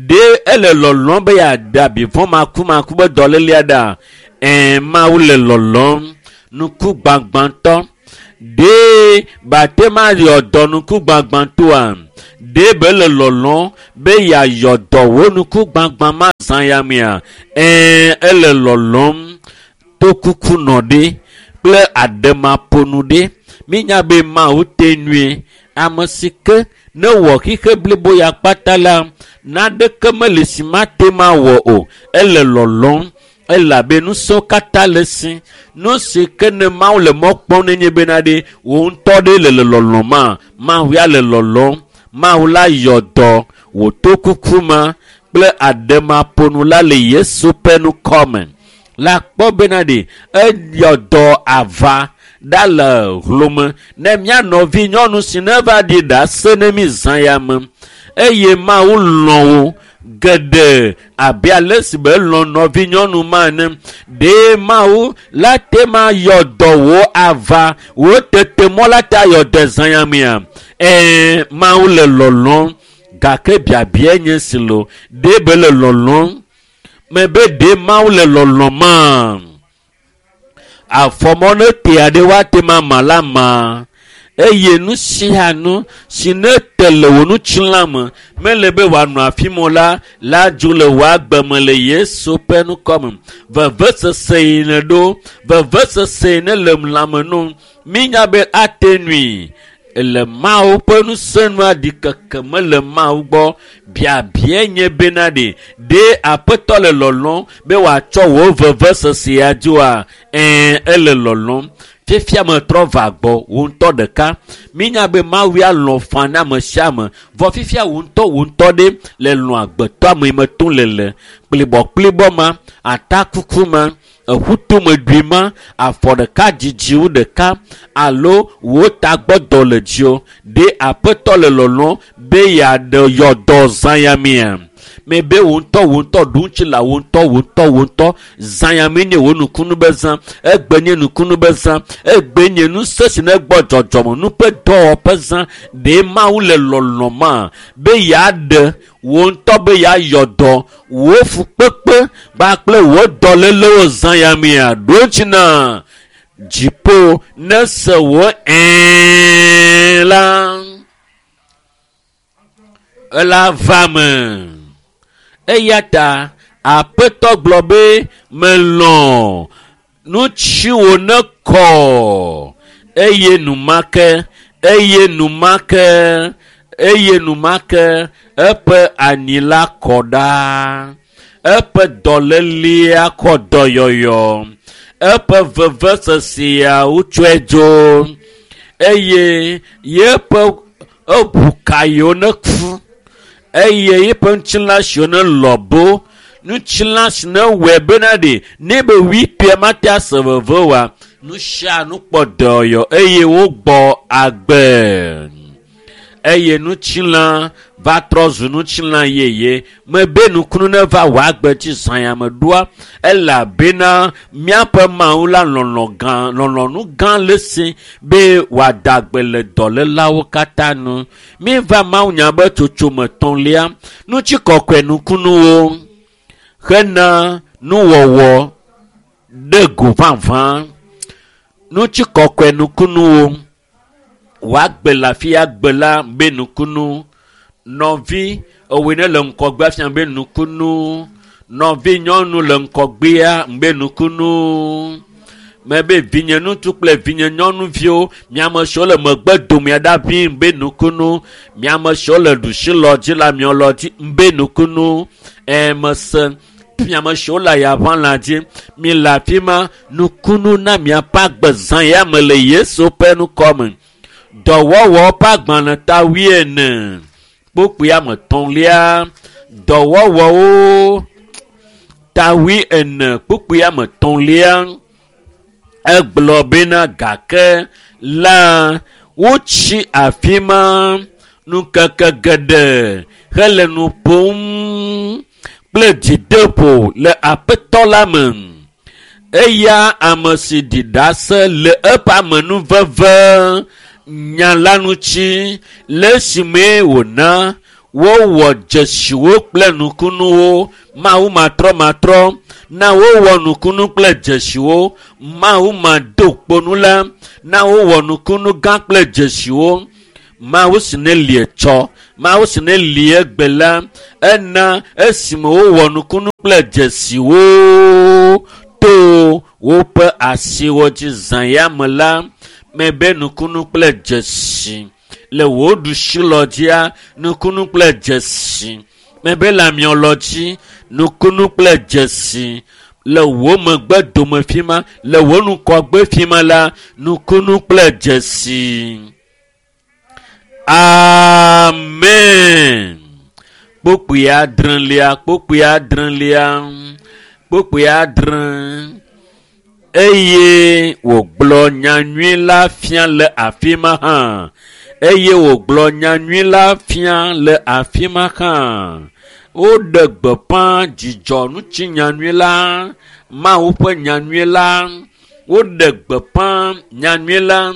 ɖe ele lɔlɔ̃m be yeaɖe abivɔ̃ makumaku be dɔlélea ɖa? Ɛ̃, Mawu le lɔlɔ̃m. Nuku gbagbãtɔ. Ɖe bate ma yɔ dɔ nuku gbagbãtɔa? Ɖe be le lɔlɔ̃m be yeayɔ dɔ wò nuku gbagbã ma zã ya mea? Ɛ̃, ele lɔlɔ̃m. Tokuku nɔ ɖe kple aɖemaƒonu ɖe. Mínya be Mawu te nui. Ame si ke ne wɔ xixe blibo ya kpata la, naɖeke mele si mate ma wɔ o. Ele lɔlɔ̃m elabe nusẽwo katã le si. Nu si ke ne Mawu le mɔ kpɔm nenye bena ɖe wò ŋutɔ ɖe le le lɔlɔ̃ ma, Mawu ya le lɔlɔ̃m. Mawu la yɔ dɔ wò tokuku ma kple aɖemaƒonu la le Yesu ƒe ŋkɔme. La kpɔ bena ɖe eyɔ dɔ ava ɖa le hlome ne mía nɔvi nyɔnu si ne va ɖi ɖase ne mi zã ya me. Eye Mawu lɔ̃ wò geɖe abe ale si be lɔ̃ nɔvi nyɔnu ma ene. Ɖe Mawu la te ma yɔ dɔ wò ava wò tete mɔ la te ayɔ dɔ zã ya mea? Ɛ̃, Mawu le lɔlɔ̃m gake biabia nye si lo. Ɖe be le lɔlɔ̃m? Mebe ɖe Mawu le lɔlɔ̃m ma? Afɔmɔ ne te aɖe woate ma ma la ma. Eye nu sia nu si ne te le wò ŋutilã me mele be wòanɔ afi ma o la, la dzo le wò agbe me le Yesu ƒe ŋkɔme. Vevesese yi ne ɖo, vevesese yi ne le lãme nu, mínya be ate nui. Le Mawu ƒe ŋusẽ nua ɖikeke mele Mawu gbɔ. Biabia nye bena ɖe, ɖe Aƒetɔ le lɔlɔ̃m be wòatsɔ wò vevesesea dzoa? Ɛ̃, ele lɔlɔ̃m. Fifia metrɔ va gbɔ wò ŋutɔ ɖeka. Mínya be Mawu ya lɔ̃ faa na ame sia ame. Vɔ fifia wò ŋutɔ wò ŋutɔ ɖe le lɔ̃ agbetɔ ame yi me tom le le kplibɔkplibɔ ma, atakuku ma, eƒutomeɖui ma, afɔ ɖeka dzidziwu ɖeka alo wò tagbɔdɔ le dziwò. Ɖe Aƒetɔ le lɔlɔ̃m be yeaɖe yɔ dɔ zã ya mea? Mebe wò ŋutɔ wò ŋutɔ ɖu ŋuti la wò ŋutɔ wò ŋutɔ wò ŋutɔ zã ya me nye wò nukunu be zã. Egbe nye nukunu be zã. Egbe nye ŋusẽ si ne gbɔ dzɔdzɔme nu ƒe dɔwɔƒe zã. Ɖe Mawu le lɔlɔ̃ ma be yeaɖe wò ŋutɔ be yeayɔ dɔ wò fukpekpe kpakple wò dɔlélewo zã ya mea? Ɖo ŋuti na dziƒo ne se wò ɛ̃ la, ela va me. Eya ta Aƒetɔ gblɔ be melɔ̃ nutsiwò ne kɔ eye numake eye numake eye numake eƒe anyi la kɔ ɖa. Eƒe dɔlélea kɔ dɔyɔyɔ. Eƒe vevesesea wotsɔe dzo eye yeƒe eʋu ka yiwo ne ku eye yeƒe ŋutilã siwo ne lɔbo ŋutilã si ne wɔe bena ɖe ne be wui ƒea mate ase veve oa, nu sia nu kpɔ dɔyɔ eye wogbɔ agbe. Eye ŋutilã va trɔ zu ŋutilã yeye. Mebe nukunu ne va wò agbe dzi zã ya me ɖoa, elabena míaƒe Mawu la lɔlɔ̃ gã, lɔlɔ̃nu gã le si be wòada agbe le dɔlélawo katã nu. Míeva Mawunya be tsotsome etɔ̃lia, ŋutikɔkɔe nukunuwo hena nuwɔwɔ ɖe go vavã. Ŋutikɔkɔe nukunuwo. Wòagbe le afi ya gbe la be nukunu. Nɔvi ewoe ne le ŋgɔgbea fia be nukunu. Nɔvi nyɔnu le ŋgɔgbea be nukunu. Mebe vinye ŋutsu kple vinye nyɔnuviwo, miame siwo le megbe domea ɖa ʋĩ be nukunu. Miame siwo le ɖusi lɔ dzi le amiɔ lɔ dzi be nukunu. Ɛ mese miame siwo le ayaʋã la dzi, mi le afi ma nukunu na miaƒe agbe zã ya me le Yesu ƒe ŋkɔme. Dɔwɔwɔ ƒe agbalẽ ta wuiene kpukpui ame etɔ̃lia. Dɔwɔwɔwo ta wuiene kpukpui ame etɔ̃lia. Egblɔ bena gake la wotsi afi ma ŋkeke geɖe hele nu ƒom kple dzideƒo le Aƒetɔ la me. Eya ame si ɖi ɖase le eƒe amenuveve nya la ŋuti le esime wòna wowɔ dzesiwo kple nukunuwo. Mawu matrɔmatrɔ na wowɔ nukunu kple dzesiwo. Mawu mado kponu la na wowɔ nukunu gã kple dzesiwo. Mawu si ne li etsɔ, Mawu si ne li egbe la, ena esime wowɔ nukunu kple dzesiwo to woƒe asiwo dzi zã ya me la, mebe nukunu kple dzesi le wò ɖusilɔ dzia, nukunu kple dzesi mebe le amiɔlɔ dzi, nukunu kple dzesi le wò megbe dome fi ma, le wò ŋgɔgbe fi ma la, nukunu kple dzesi. Amen. Kpukpui adrelia, kpukpui adrelia, kpukpui adre. Eye wògblɔ nyanyui la fia le afi ma hã. Eye wògblɔ nyanyui la fia le afi ma hã. Woɖe gbeƒã dzidzɔ ŋuti nyanyui la, Mawu ƒe nyanyui la. Woɖe gbeƒã nyanyui la,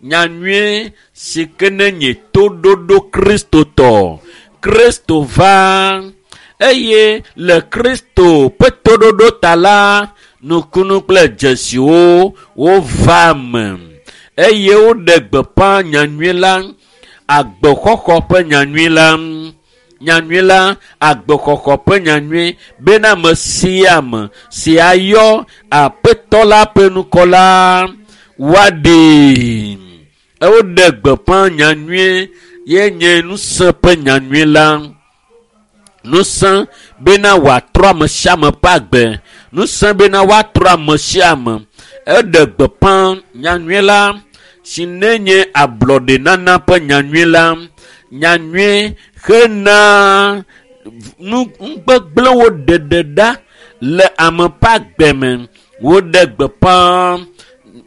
nyanyui si ke ne nye toɖoɖo Kristotɔ. Kristo va eye le Kristo ƒe toɖoɖo ta la, nukunu kple dzesiwo wova me. Eye woɖe gbeƒã nyanyui la, agbexɔxɔ ƒe nyanyui la, nyanyui la, agbexɔxɔ ƒe nyanyui bena ame sia ame si ayɔ Aƒetɔ la ƒe ŋkɔ la woaɖee. Woɖe gbeƒã nyanyui ye nye ŋusẽ ƒe nyanyui la. Ŋusẽ bena wòatrɔ ame sia ame ƒe agbe. Ŋusẽ bena woatrɔ ame sia ame. Eɖe gbeƒã nyanyui la si ne nye ablɔɖenana ƒe nyanyui la. Nyanyui hena nu nugbegblẽwo ɖeɖe ɖa le ame ƒe agbe me. Woɖe gbeƒã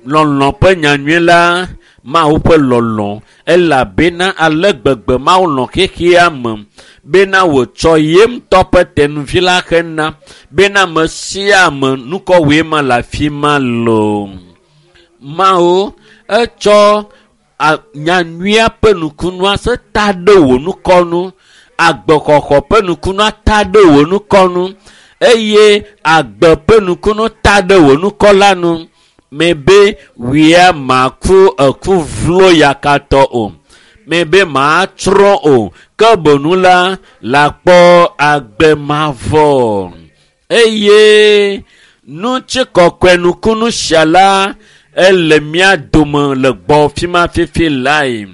lɔlɔ̃ ƒe nyanyui la, Mawu ƒe lɔlɔ̃, elabena ale gbegbe Mawu lɔ̃ xexea me bena wòtsɔ ye ŋutɔ ƒe tenuvi la hena bena ame sia ame nukɔwɔe ma le afi ma loo. Mawu etsɔ nyanyuia ƒe nukunua se ta ɖe wò nukɔnu, agbexɔxɔ ƒe nukunua ta ɖe wò nukɔnu, eye agbe ƒe nukunu ta ɖe wò nukɔ la nu. Mebe wia maku eku vlo yakatɔ o, mebe matsrɔ̃ o, ke bonu la lakpɔ agbe mavɔ. Eye ŋutikɔkɔe nukunu sia la ele mía dome le gbɔ fi ma fifi lae.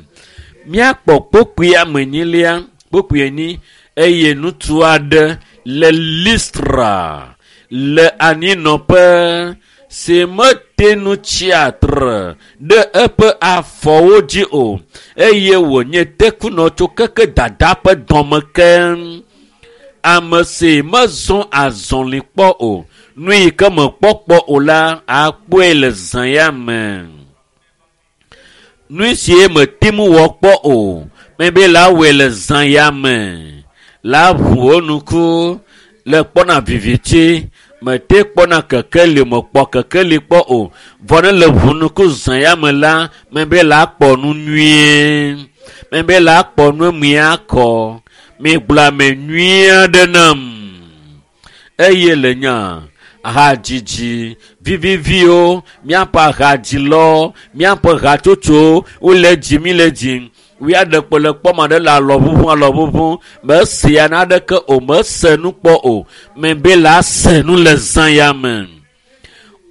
Míakpɔ kpukpui ame enyilia, kpukpui enyi, eye ŋutsu aɖe le Listra le anyinɔƒe si mete ŋu tsi atre ɖe eƒe afɔwo dzi o, eye wònye tekunɔ tso keke dada ƒe dɔme ke. Ame si mezɔ azɔli kpɔ o, nu yi ke mekpɔ kpɔ o la, akpɔe le zã ya me. Nu si mete ŋu wɔ kpɔ o, mebe la wɔe le zã ya me. La ʋu wo ŋku le kpɔna viviti, mete kpɔna kekeli, mekpɔ kekeli kpɔ o. Vɔ ne le ʋu ŋku zã ya me la, mebe la kpɔ nu nyuie. Mebe la kpɔ nu miakɔ. Migblɔ ame nyui aɖe nam. Eye le nya hadzidzi viviviwo, míaƒe hadzilɔ, míaƒe hatsotso wole dzi mi le dzi. Wia ɖe kpo le kpɔm aɖe le alɔ ʋuʋu alɔ ʋuʋu. Mesia naɖeke o, mese nu kpɔ o. Mebe la se nu le zã ya me.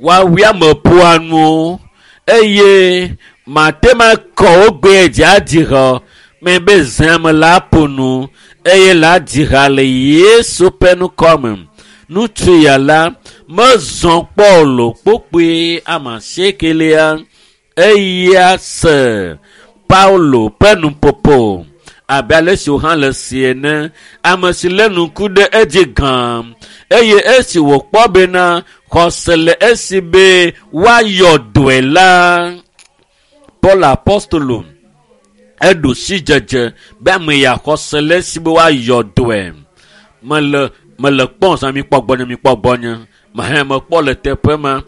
Woawia meƒoa nu eye mate ma kɔ wo gbe dzi adzi ha. Mebe zã me la ƒo nu eye la dzi ha le Yesu ƒe ŋkɔ me. Ŋutsu ya la mezɔ kpɔ lo kpokpoe ame asiekelia eya se Paulo ƒe nuƒoƒo abe ale si wòhã le si ene. Ame si lé ŋku ɖe edzi gã eye esi wòkpɔ bena xɔse le esi be woayɔ dɔe la, Paul apostolo eɖo sidzedze be ame ya xɔse le esi be woayɔ dɔe. Mele mele kpɔm zã mikpɔ gbɔnye mikpɔ gbɔnye. Mehẽ mekpɔ le teƒe ma.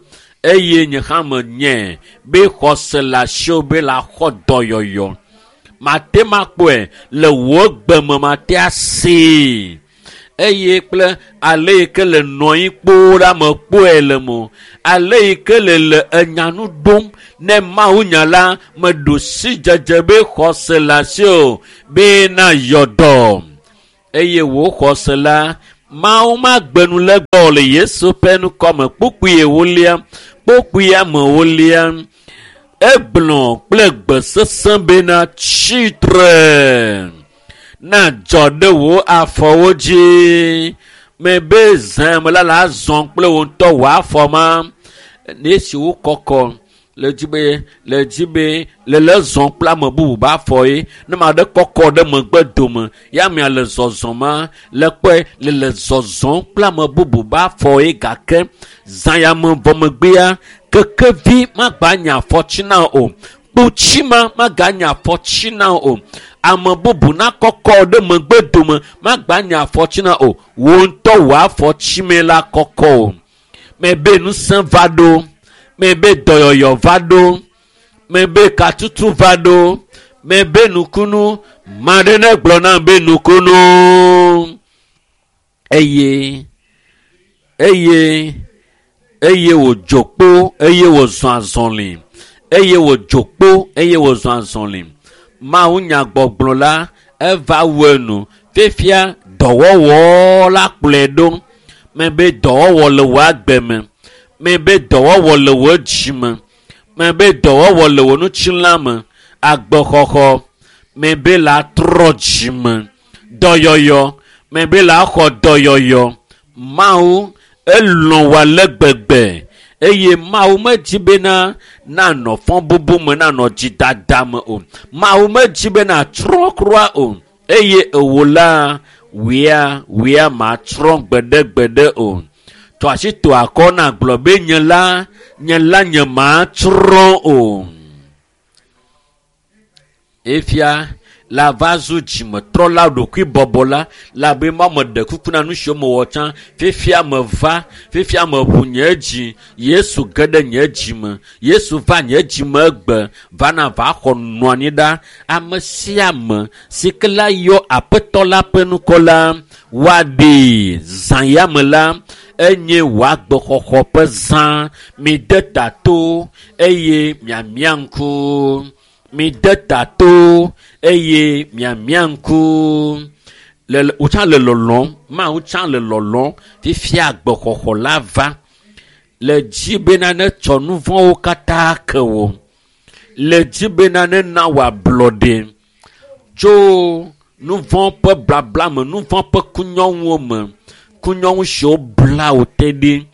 Eye nye hã menye be xɔse le asiwò be la xɔ dɔyɔyɔ. Mate makpɔe le wò gbeme mate asee. Eye kple ale yi ke le nɔ anyi kpoo ɖa mekpɔe le mo. Ale yi ke le le enyanu ɖom ne Mawu nya la meɖo sidzedze be xɔse le asiwò be na yɔ dɔ. Eye wò xɔse la Mawu magbe nu le gbɔ le Yesu ƒe ŋkɔme. Kpukpui ewolia, kpukpui amewolia, egblɔ kple gbe sesẽ bena tsitre na dzɔ ɖe wò afɔwo dzi. Mebe zã me la la zɔ kple wò ŋutɔ wò afɔ ma. Ne esi wo kɔkɔ le dzi be le dzi be le le zɔ kple ame bubu be afɔ ye. Ne ame aɖe kɔkɔ ɖe megbe dome ya amea le zɔzɔm ma le kpɔe le le zɔzɔm kple ame bubu be afɔ ye gake zã ya me vɔ megbea kekevi magba nye afɔtsi na o. Kpotsi ma maganye afɔtsi na o. Ame bubu nakɔkɔ ɖe megbe dome magba nye afɔtsi na o. Wò ŋutɔ wò afɔtsi me la kɔkɔ o. Mebe ŋusẽ va ɖo. Mebe dɔyɔyɔ va ɖo. Mebe katutu va ɖo. Mebe nukunu. Ma ɖe ne gblɔ nam be nukunu. Eye, eye, eye wòdzo kpo, eye wòzɔ azɔli. Eye wòdzo kpo, eye wòzɔ azɔli. Mawu nyagbɔgblɔ la eva wu enu. Fifia dɔwɔwɔ la kplɔe ɖo. Mebe dɔwɔwɔ le wò agbe me. Mebe dɔwɔwɔ le wò dzi me. Mebe dɔwɔwɔ le wò ŋutilã me. Agbexɔxɔ. Mebe la trɔ dzi me. Dɔyɔyɔ. Mebe la xɔ dɔyɔyɔ. Mawu elɔ̃ wò ale gbegbe. Eye Mawu medzi bena nanɔ fɔbubu me, nanɔ dzidada me o. Mawu medzi bena trɔ kura o. Eye ewo la, wia, wia matrɔ gbeɖegbeɖe o. Tɔ asi to akɔ na gblɔ be nye la, nye la nye matrɔ o. Efia la va zu dzimetrɔla ɖokuibɔbɔla la be ma meɖe kuku na nu siwo mewɔ tsã. Fifia meva, fifia meʋu nye dzi. Yesu ge ɖe nye dzi me. Yesu va nye dzi me egbe vana va xɔ nɔ anyi ɖa. Ame sia ame si ke la yɔ Aƒetɔ la ƒe ŋkɔ la, woaɖee. Zã ya me la, enye wò agbexɔxɔ ƒe zã. Mide ta to eye miamia ŋku. Mide ta to eye miamia ŋku. Le, le, wò tsã le lɔlɔ̃m. Mawu tsã le lɔlɔ̃m. Fifia agbexɔxɔ la va. Le dzi bena ne tsɔ nu vɔ̃wo katã ke wò. Le dzi bena ne na wò ablɔɖe tso nu vɔ̃ ƒe blabla me, nu vɔ̃ ƒe kunyɔŋuwo me, kunyɔŋu siwo bla wò te ɖi.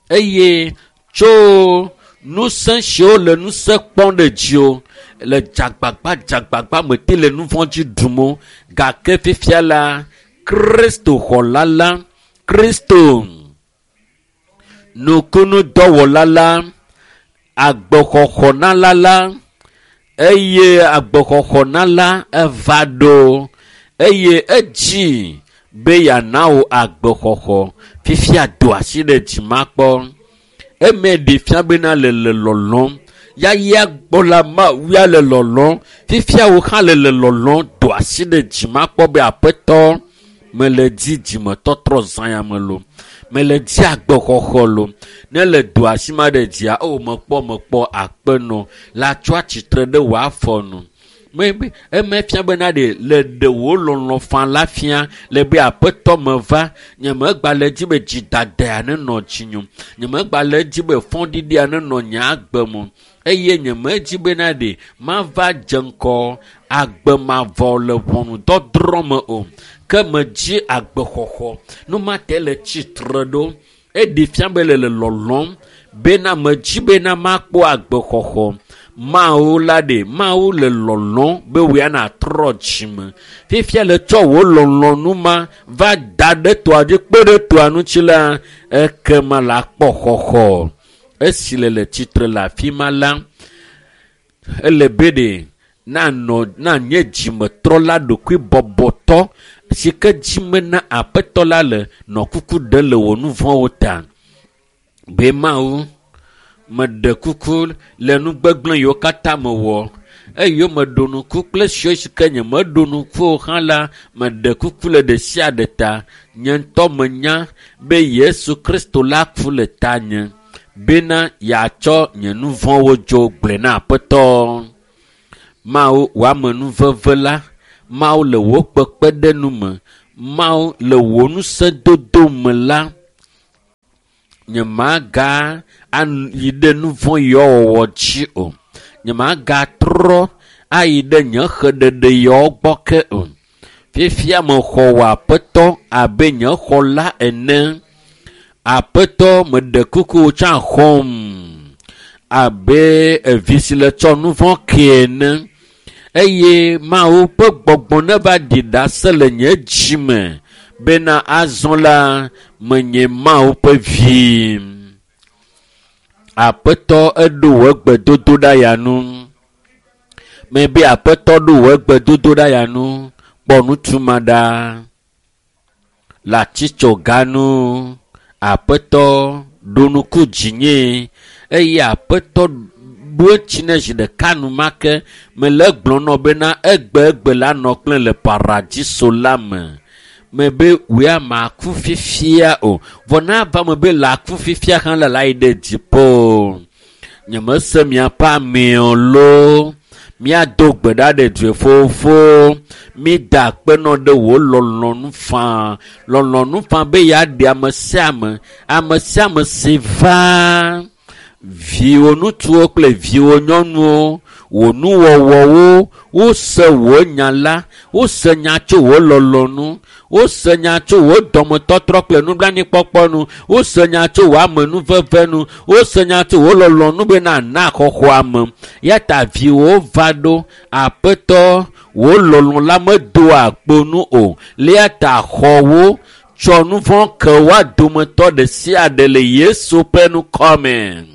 Eye tso ŋusẽ siwo le ŋusẽ kpɔm ɖe dziwò le dzagbagba dzagbagba me te le nu vɔ̃ dzi ɖum o. Gake fifia la, Kristo xɔla la, Kristo nukunudɔwɔla la, agbexɔxɔnala la, eye agbexɔxɔnala eva ɖo eye edzi be yeana wò agbexɔxɔ. Fifia do asi ɖe dzi makpɔ. Eme ɖe fia bena le le lɔlɔ̃m. Yaya gbɔ la Mawu ya le lɔlɔ̃m. Fifia wò hã le le lɔlɔ̃m. Do asi ɖe dzi makpɔ be Aƒetɔ, mele dzi dzimetɔtrɔ zã ya me lo. Mele dzi agbexɔxɔ lo. Ne le do asi ma ɖe dzia, o mekpɔ, mekpɔ akpe nɔ la tsɔ atsitre ɖe wò afɔ nu. Mebe eme fia bena ɖe le ɖe wò lɔlɔ̃ fã la fia le be Aƒetɔ meva. Nye megba le dzi be dzidadea nenɔ dzinye. Nye megba le dzi be fɔɖiɖia nenɔ nye agbe me. Eye nye medzi bena ɖe mava dze ŋgɔ agbe mavɔ le ʋɔnudɔdrɔ̃ me o. Ke medzi agbexɔxɔ. Nu ma te le tsitre ɖo. Eɖe fia be le le lɔlɔ̃m bena medzi bena makpɔ agbexɔxɔ. Mawu la ɖe, Mawu le lɔlɔ̃m be wòya natrɔ dzime. Fifia le tsɔ wò lɔlɔ̃nu ma va da ɖe toa dzi kpe ɖe toa ŋuti la, ekema la kpɔ xɔxɔ. Esi le le tsitre le afi ma la, ele be ɖe nanɔ, nanye dzimetrɔla ɖokuibɔbɔtɔ si ke dzime na Aƒetɔ la le nɔ kuku ɖe le wò nu vɔ̃wo ta. Be Mawu, Meɖe kuku le nu gbegblẽ yiwo katã mewɔ. Eye meɖo nuku kple siwo si ke nyemeɖo nuku o hã la, meɖe kuku le ɖe sia ɖe ta. Nye ŋutɔ menya be Yesu Kristo la ku le tanye bena yeatsɔ nye nu vɔ̃wo dzo gblɔe na Aƒetɔ. Mawu wò amenuveve la, Mawu le wò kpekpeɖeŋu me, Mawu le wò ŋusẽdodo me la, nyemaga ayi ɖe nu vɔ̃ yawo wɔwɔ dzi o. Nyemagatrɔ ayi ɖe nye xeɖeɖe yawo gbɔ ke o. Fifia mexɔ wò Aƒetɔ abe nye xɔla ene. Aƒetɔ, meɖe kuku wò tsã xɔm abe evi si le tsɔ nu vɔ̃ ke ene. Eye Mawu ƒe gbɔgbɔ neva ɖi ɖase le nye dzi me bena azɔ la menye Mawu ƒe vi. Aƒetɔ eɖo wò gbedodoɖa ya nu. Mebe Aƒetɔ ɖo wò gbedodoɖa ya nu. Kpɔ ŋutsu ma ɖa le atitsoga nu. Aƒetɔ ɖo nuku dzinye eye Aƒetɔ ɖo etsi ne zi ɖeka enumake. Mele egblɔm nɔ bena egbe egbe la nɔ kple le paradiso la me. Mebe wòe maku fifia o. Vɔ na ava me be le aku fifia hã la, la yi ɖe dziƒo. Nyemese miaƒe amewo loo. Míado gbe ɖa ɖe dzoe fofo. Mída akpe nɔ ɖe wò lɔlɔ̃nu faa. Lɔlɔ̃nu faa be yeaɖe ame sia ame. Ame sia ame si va. Viwò ŋutsuwo kple viwò nyɔnuwo, wò nuwɔwɔwo, wose wò nya la, wose nya tso wò lɔlɔ̃nu, wose nya tso wò dɔmetɔtrɔ kple nublanuikpɔkpɔ nu, wose nya tso wò amenuveve nu, wose nya tso wò lɔlɔ̃nu bena na xɔxɔ ame. Ya ta viwò va ɖo. Aƒetɔ, wò lɔlɔ̃ la medoa kpo nu o. Lia ta xɔ wo, tsɔ nu vɔ̃ ke woa dometɔ ɖe sia ɖe le Yesu ƒe ŋkɔ me.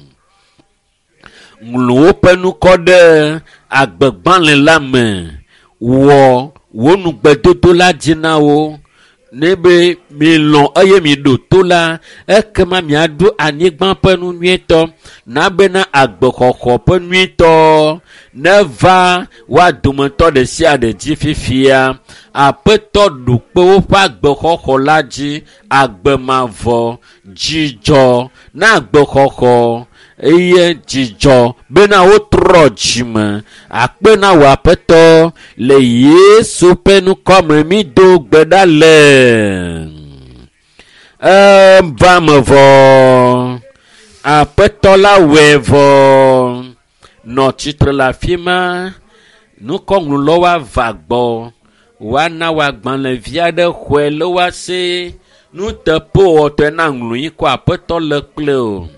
Ŋlɔ woƒe ŋkɔ ɖe agbegbalẽ la me. Wɔ wò nugbedodo la dzi na wo. Ne be milɔ̃ eye miɖo to la, ekema miaɖu anyigba ƒe nu nyuietɔ. Na bena agbexɔxɔ ƒe nyuietɔ neva woa dometɔ ɖe sia ɖe dzi fifia. Aƒetɔ ɖu kpe woƒe agbexɔxɔ la dzi. Agbe mavɔ, dzidzɔ na agbexɔxɔ eye dzidzɔ bena wotrɔ dzime. Akpe na wò Aƒetɔ le Yesu ƒe ŋkɔ me mído gbe ɖa le. Eva me vɔ. Aƒetɔ la wɔe vɔ. Nɔ tsitre le afi ma. Nukɔŋlɔlawo ava gbɔ. Woana wò agbalẽvi aɖe xɔe le woasi. Nuteƒewɔtɔe na ŋlɔ yi kɔ Aƒetɔ le kple o.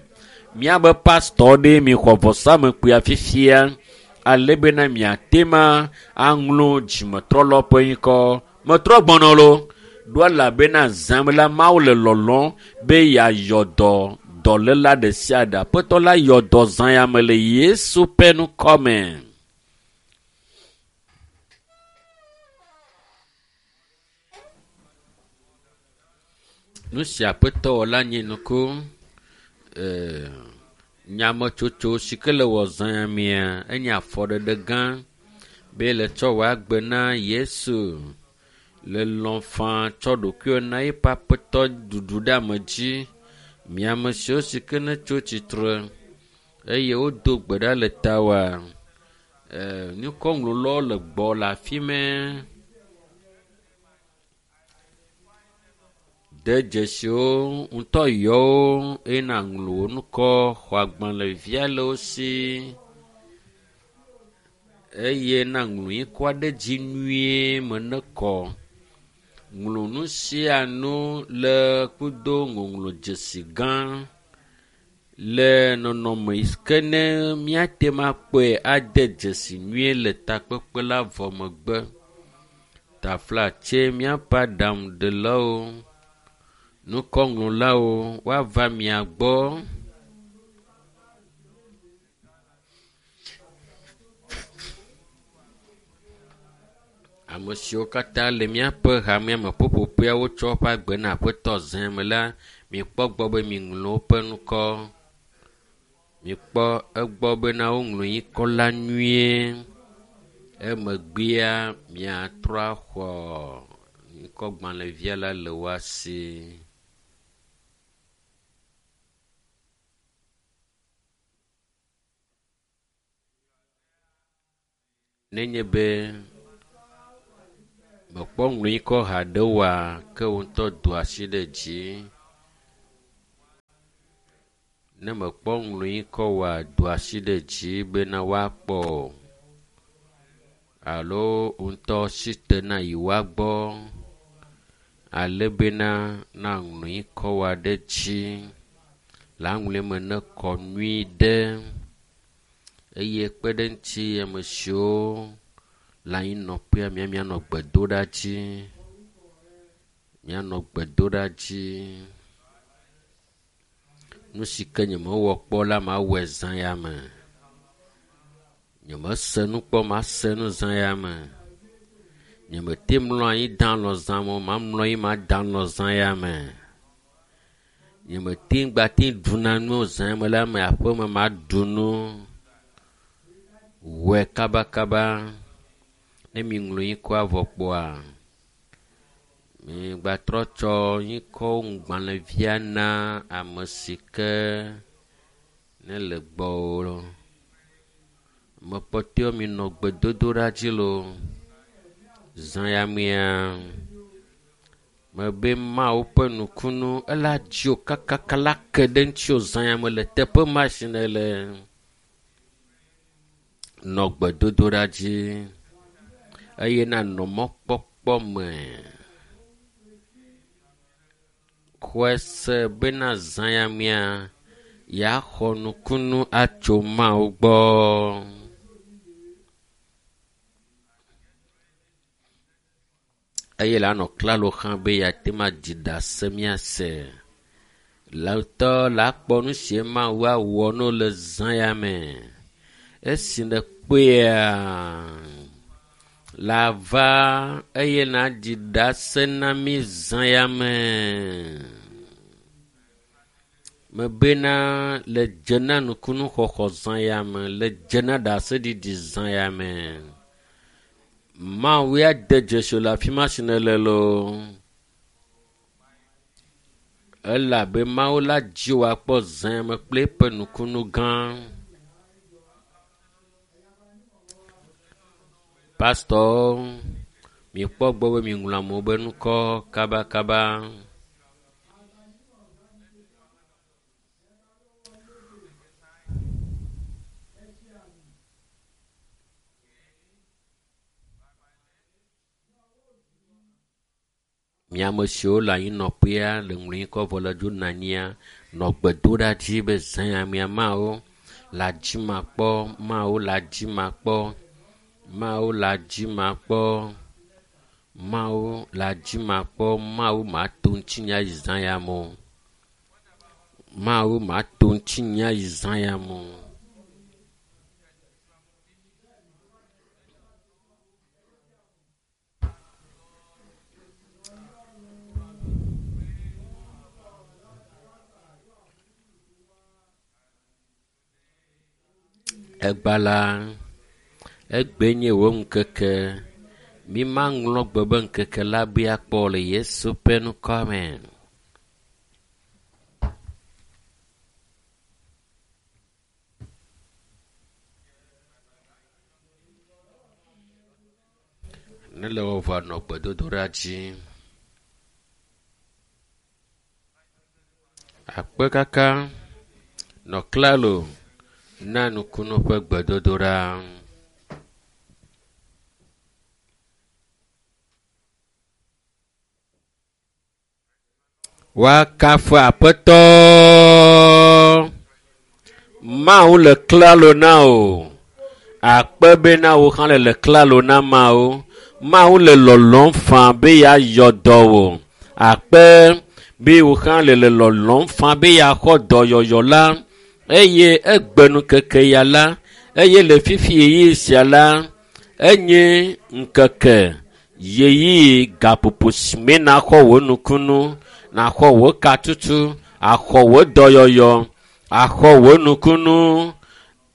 Míabe pastɔ ɖe mixɔ vɔsamekpuia fifia ale bena miate ma aŋlɔ dzimetrɔlɔ ƒe ŋkɔ. Metrɔ gbɔnɔ lo. Ɖo elabena zãm la Mawu le lɔlɔ̃m be yeayɔ dɔ dɔléla ɖe sia ɖe. Aƒetɔ la yɔ dɔ zã ya me le Yesu ƒe ŋkɔ me. Nu si Aƒetɔ wɔ la nye nuku. Ee, nyametsotso si ke le wɔ zã ya mea, enye afɔɖeɖe gã be le tsɔ wò agbe na Yesu. Le lɔ̃ faa tsɔ ɖokuiwò na eƒe Aƒetɔ ɖuɖu ɖe ame dzi. Mi ame siwo si ke ne tso tsitre eye wodo gbe ɖa le tawòa, ee, nukɔŋlɔlawo le gbɔ le afi mɛ. De dzesiwo ŋutɔ yɔwo eye nàŋlɔ wò ŋkɔ xɔ agbalẽvia le wo si eye nàŋlɔ ŋkɔa ɖe dzi nyuie me ne kɔ. Ŋlɔ nu sia nu le kudo ŋɔŋlɔ dzesi gã le nɔnɔme yi ke ne míate ŋu akpɔe ade dzesi nyuie le takpekpe la vɔ megbe. Taflatse míaƒe aɖaŋuɖelawo, nukɔŋlɔlawo woava mia gbɔ. Ame siwo katã le míaƒe hamea me ƒuƒoƒea wotsɔ woƒe agbe na Aƒetɔ zã me la, mikpɔ gbɔ be miŋlɔ woƒe ŋkɔ. Mikpɔ egbɔ bena woŋlɔ ŋkɔ la nyuie. Emegbea miatrɔ axɔ ŋkɔgbalẽvia la le woa si. Nenye be mekpɔ ŋlɔ ŋkɔ haɖe oa, ke wò ŋutɔ do asi ɖe dzi. Ne mekpɔ ŋlɔ ŋkɔ oa, do asi ɖe dzi bena woakpɔ alo wò ŋutɔ si te na yi woagbɔ ale bena na ŋlɔ ŋkɔ wa ɖe dzi. Le aŋlɔe me nekɔ nyui ɖe eye kpe ɖe ŋuti ame siwo le anyinɔƒea mía mianɔ gbedoɖa dzi. Mianɔ gbedoɖa dzi. Nu si ke nyemewɔ kpɔ la mawɔe zã ya me. Nyemese nu kpɔ mase nu zã ya me. Nyemete mlɔ anyi da alɔ zã me o mamlɔ anyi mada alɔ zã ya me. Nyemete ŋgbate ɖuna nu zã ya me la me aƒeme maɖu nu. Wɔe kabakaba. Ne mi ŋlɔ ŋkɔa vɔ kpoa, migbatrɔ tsɔ ŋkɔ ŋgbalẽvia na ame si ke ne le gbɔwò. Mekpɔtɔewo minɔ gbedodoɖa dzi loo. Zã ya mea, mebe Mawu ƒe nukunu ela dziwò kakaka la ke ɖe ŋutiwò zã ya me le teƒe ma si nèle. Nɔ gbedodoɖa dzi eye nanɔ mɔkpɔkpɔ me. Xɔe se bena zã ya mea, yeaxɔ nukunu atso Mawu gbɔ. Eye le anɔ klalo hã be yeate ŋu aɖi ɖase míase. Le ŋutɔ le akpɔ nu si Mawu awɔ no le zã ya me. Esi nèkpɔea, lava eye nàɖi ɖase na mí zã ya me. Mebena le dze na nukunuxɔxɔ zã ya me, le dze na ɖaseɖiɖi zã ya me. Mawu ya de dzesi le afi ma si nèle loo. Elabe Mawu la dzi wò akpɔ zã ya me kple eƒe nukunu gã. Pastɔwo, mikpɔ gbɔ be miŋlɔ amewo be ŋkɔ kabakaba. Mi ame siwo le anyinɔƒea le ŋlɔ ŋkɔ vɔ le dzo nɔ anyia, nɔ gbedoɖa dzi be zã ya mea Mawu le adzi makpɔ, Mawu le adzi makpɔ, Mawu le adzi makpɔ, Mawu le adzi makpɔ, Mawu mato ŋutinye ayi zã ya me o. Mawu mato ŋutinye ayi zã ya me o. Egba la, egbe nye wò ŋkeke. Mi maŋlɔ gbe be ŋkeke la be akpɔ le Yesu ƒe ŋkɔ me. Ne le wɔ vɔ nɔ gbedodoɖa dzi. Akpe kaka nɔ klalo na nukunu ƒe gbedodoɖa. Woakafu Aƒetɔ. Mawu le klalo na wò. Akpe bena wò hã le le klalo na Mawu. Mawu le lɔlɔ̃m faa be yeayɔ dɔ wò. Akpe be wò hã le le lɔlɔ̃m faa be yeaxɔ dɔyɔyɔ la. Eye egbe ŋkeke ya la, eye le fifi ɣeyiɣi sia la, enye ŋkeke ɣeyiɣi gaƒoƒo si me naxɔ wò nukunu, naxɔ wò katutu, axɔ wò dɔyɔyɔ, Axɔ wò nukunu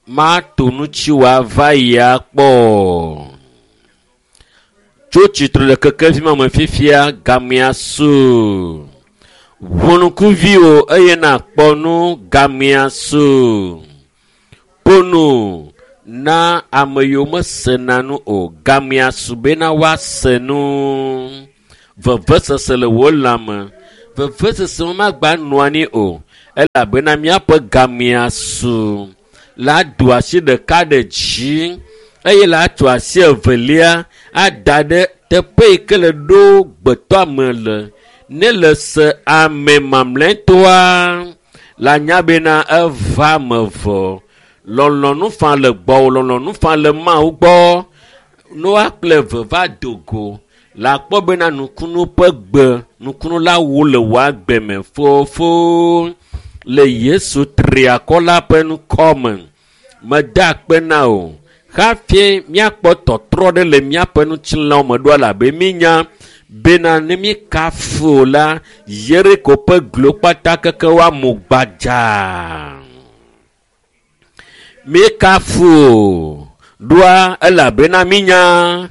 mato nutsi wòava yia kpɔ. Tso tsitre le kekevi ma me fifia gamea su. Ʋunukuviwo eye nakpɔ nu gamea su. Ƒo na ame yiwo mesena nu o gamea su bena woase nu. Vevesese le wò lãme. Vevesese magba nɔ anyi o elabena míaƒe gamea su. La do asi ɖeka ɖe dzi eye la tso asi evelia ada ɖe teƒe yi ke le ɖo gbetɔame le. Ne le se ame mamlɛtɔa la nya bena eva me vɔ. Lɔlɔ̃nu fa le gbɔwò, lɔlɔ̃nu fa le Mawu gbɔ. Ne woakple eve va do go la kpɔ bena nukunu ƒe gbe, nukunu la wu le wò agbe me fofo. Le Yesu triakɔ la ƒe ŋkɔ me, meda akpe na wò. Hafi míakpɔ tɔtrɔ ɖe le míaƒe ŋutilãwo me ɖo elabe mínya bena ne míekafu o la, Yeriko ƒe glo kpata keke woamu gbadzaa. Míekafu o ɖoa elabena mínya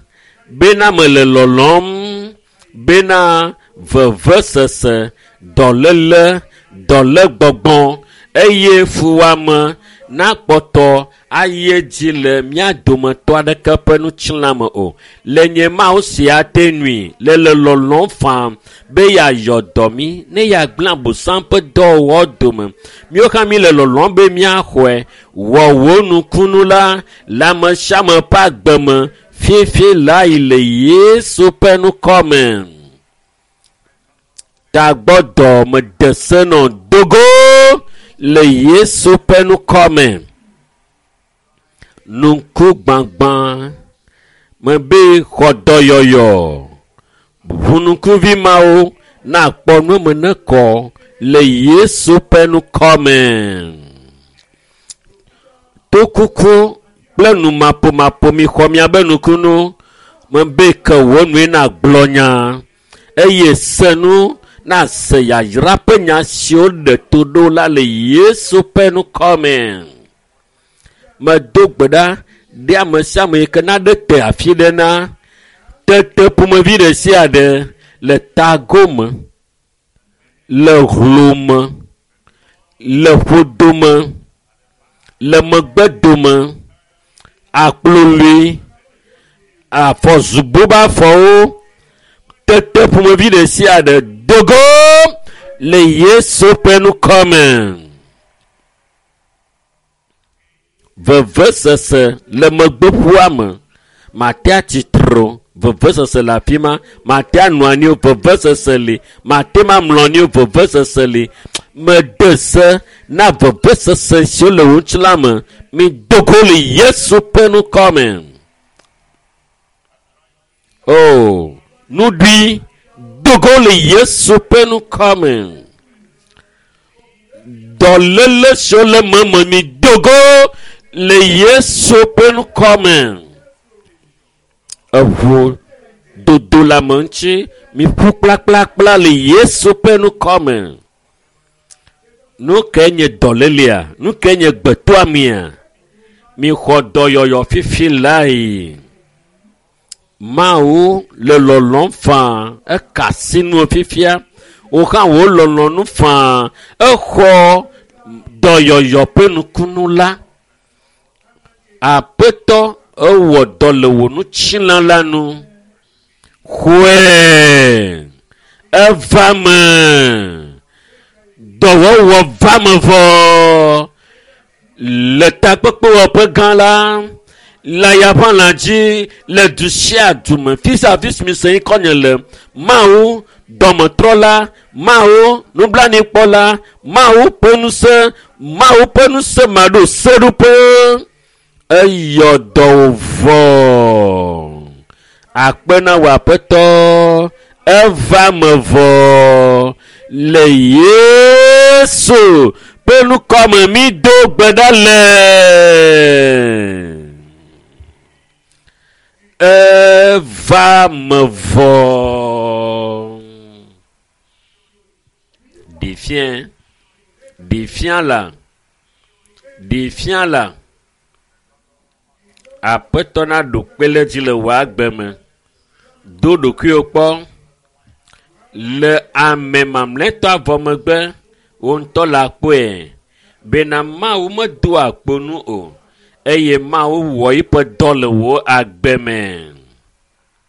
bena mele lɔlɔ̃m bena vevesese, dɔléle, dɔlégbɔgbɔ eye fuwɔame nakpɔtɔ ayi edzi le mía dometɔ aɖeke ƒe ŋutilã me o. Le nye Mawu sia te nui le le lɔlɔ̃m faa be yeayɔ dɔ mí ne yeagblẽ Abosam ƒe dɔwɔwɔ dome. Míawo hã míle lɔlɔ̃m be míaxɔe. Wɔ wò nukunu la le ame sia ame ƒe agbe me fifi lae le Yesu ƒe ŋkɔ me. Tagbɔdɔ mede se nɔ dogo le Yesu ƒe ŋkɔ me. Nuku gbagbã mebe xɔ dɔyɔyɔ. Ʋunukuvi mawo nakpɔ nu me ne kɔ le Yesu ƒe ŋkɔ me. Tokuku kple numaƒomaƒo mi xɔ miabe nukunu mebe ke wò nue nagblɔ nya eye se nu nase yayra ƒe nya siwo ɖe to ɖo la le Yesu ƒe ŋkɔ me. Medo gbe ɖa ɖe ame sia ame yi ke naɖe te afi ɖe na tete ƒomevi ɖe sia ɖe le tagome, le hlome, le ƒodome, le megbedome, akplolui, afɔzubo be afɔwo, tete ƒomevi ɖe sia ɖe dogo le Yesu ƒe ŋkɔ me. Vevesese le megbeƒua me, mate atsitre o, vevesese le afi ma, mate anɔ anyi o, vevesese li, mate mamlɔ anyi o, vevesese li. Mede se na vevesese siwo le wò ŋutilã me, mi dogo le Yesu ƒe ŋkɔ me. O, nuɖui dogo le Yesu ƒe ŋkɔ me. Dɔléle siwo le meme mi dogo le Yesu ƒe ŋkɔ me. Eʋu dodo le ame ŋuti mi ƒu kplakplakpla le Yesu ƒe ŋkɔ me. Nu ke nye dɔlélea? Nu ke nye gbetoamea? Mi xɔ dɔyɔyɔ fifi lae. Mawu le lɔlɔ̃m faa eka asi nu fifia. Wò hã wò lɔlɔ̃nu faa exɔ dɔyɔyɔ ƒe nukunu la. Aƒetɔ ewɔ dɔ le wò ŋutilã la nu. Xɔe eva me. Dɔwɔwɔ va me vɔ. Le takpekpewɔƒe gã la, le ayaƒãlã dzi, le du sia du me, fi sia fi si mi se ŋkɔnye le, Mawu dɔmetrɔla, Mawu nublanuikpɔla, Mawu ƒe ŋusẽ, Mawu ƒe ŋusẽ maɖo seɖoƒe. Eyɔ dɔ wò vɔ. Akpe na wò Aƒetɔ, eva me vɔ. Le Yesu ƒe ŋkɔ me mi do gbe ɖa le. Eva me vɔ. Ɖefia, ɖefia la. Ɖi fia la aƒetɔ naɖo kpe ɖe dzi le wò agbe me. Do ɖokuiwò kpɔ le ame mamlɛtɔ vɔ megbe wò ŋutɔ la kpɔe bena Mawu medoa kpo nu o eye Mawu wɔ eƒe dɔ le wò agbe me.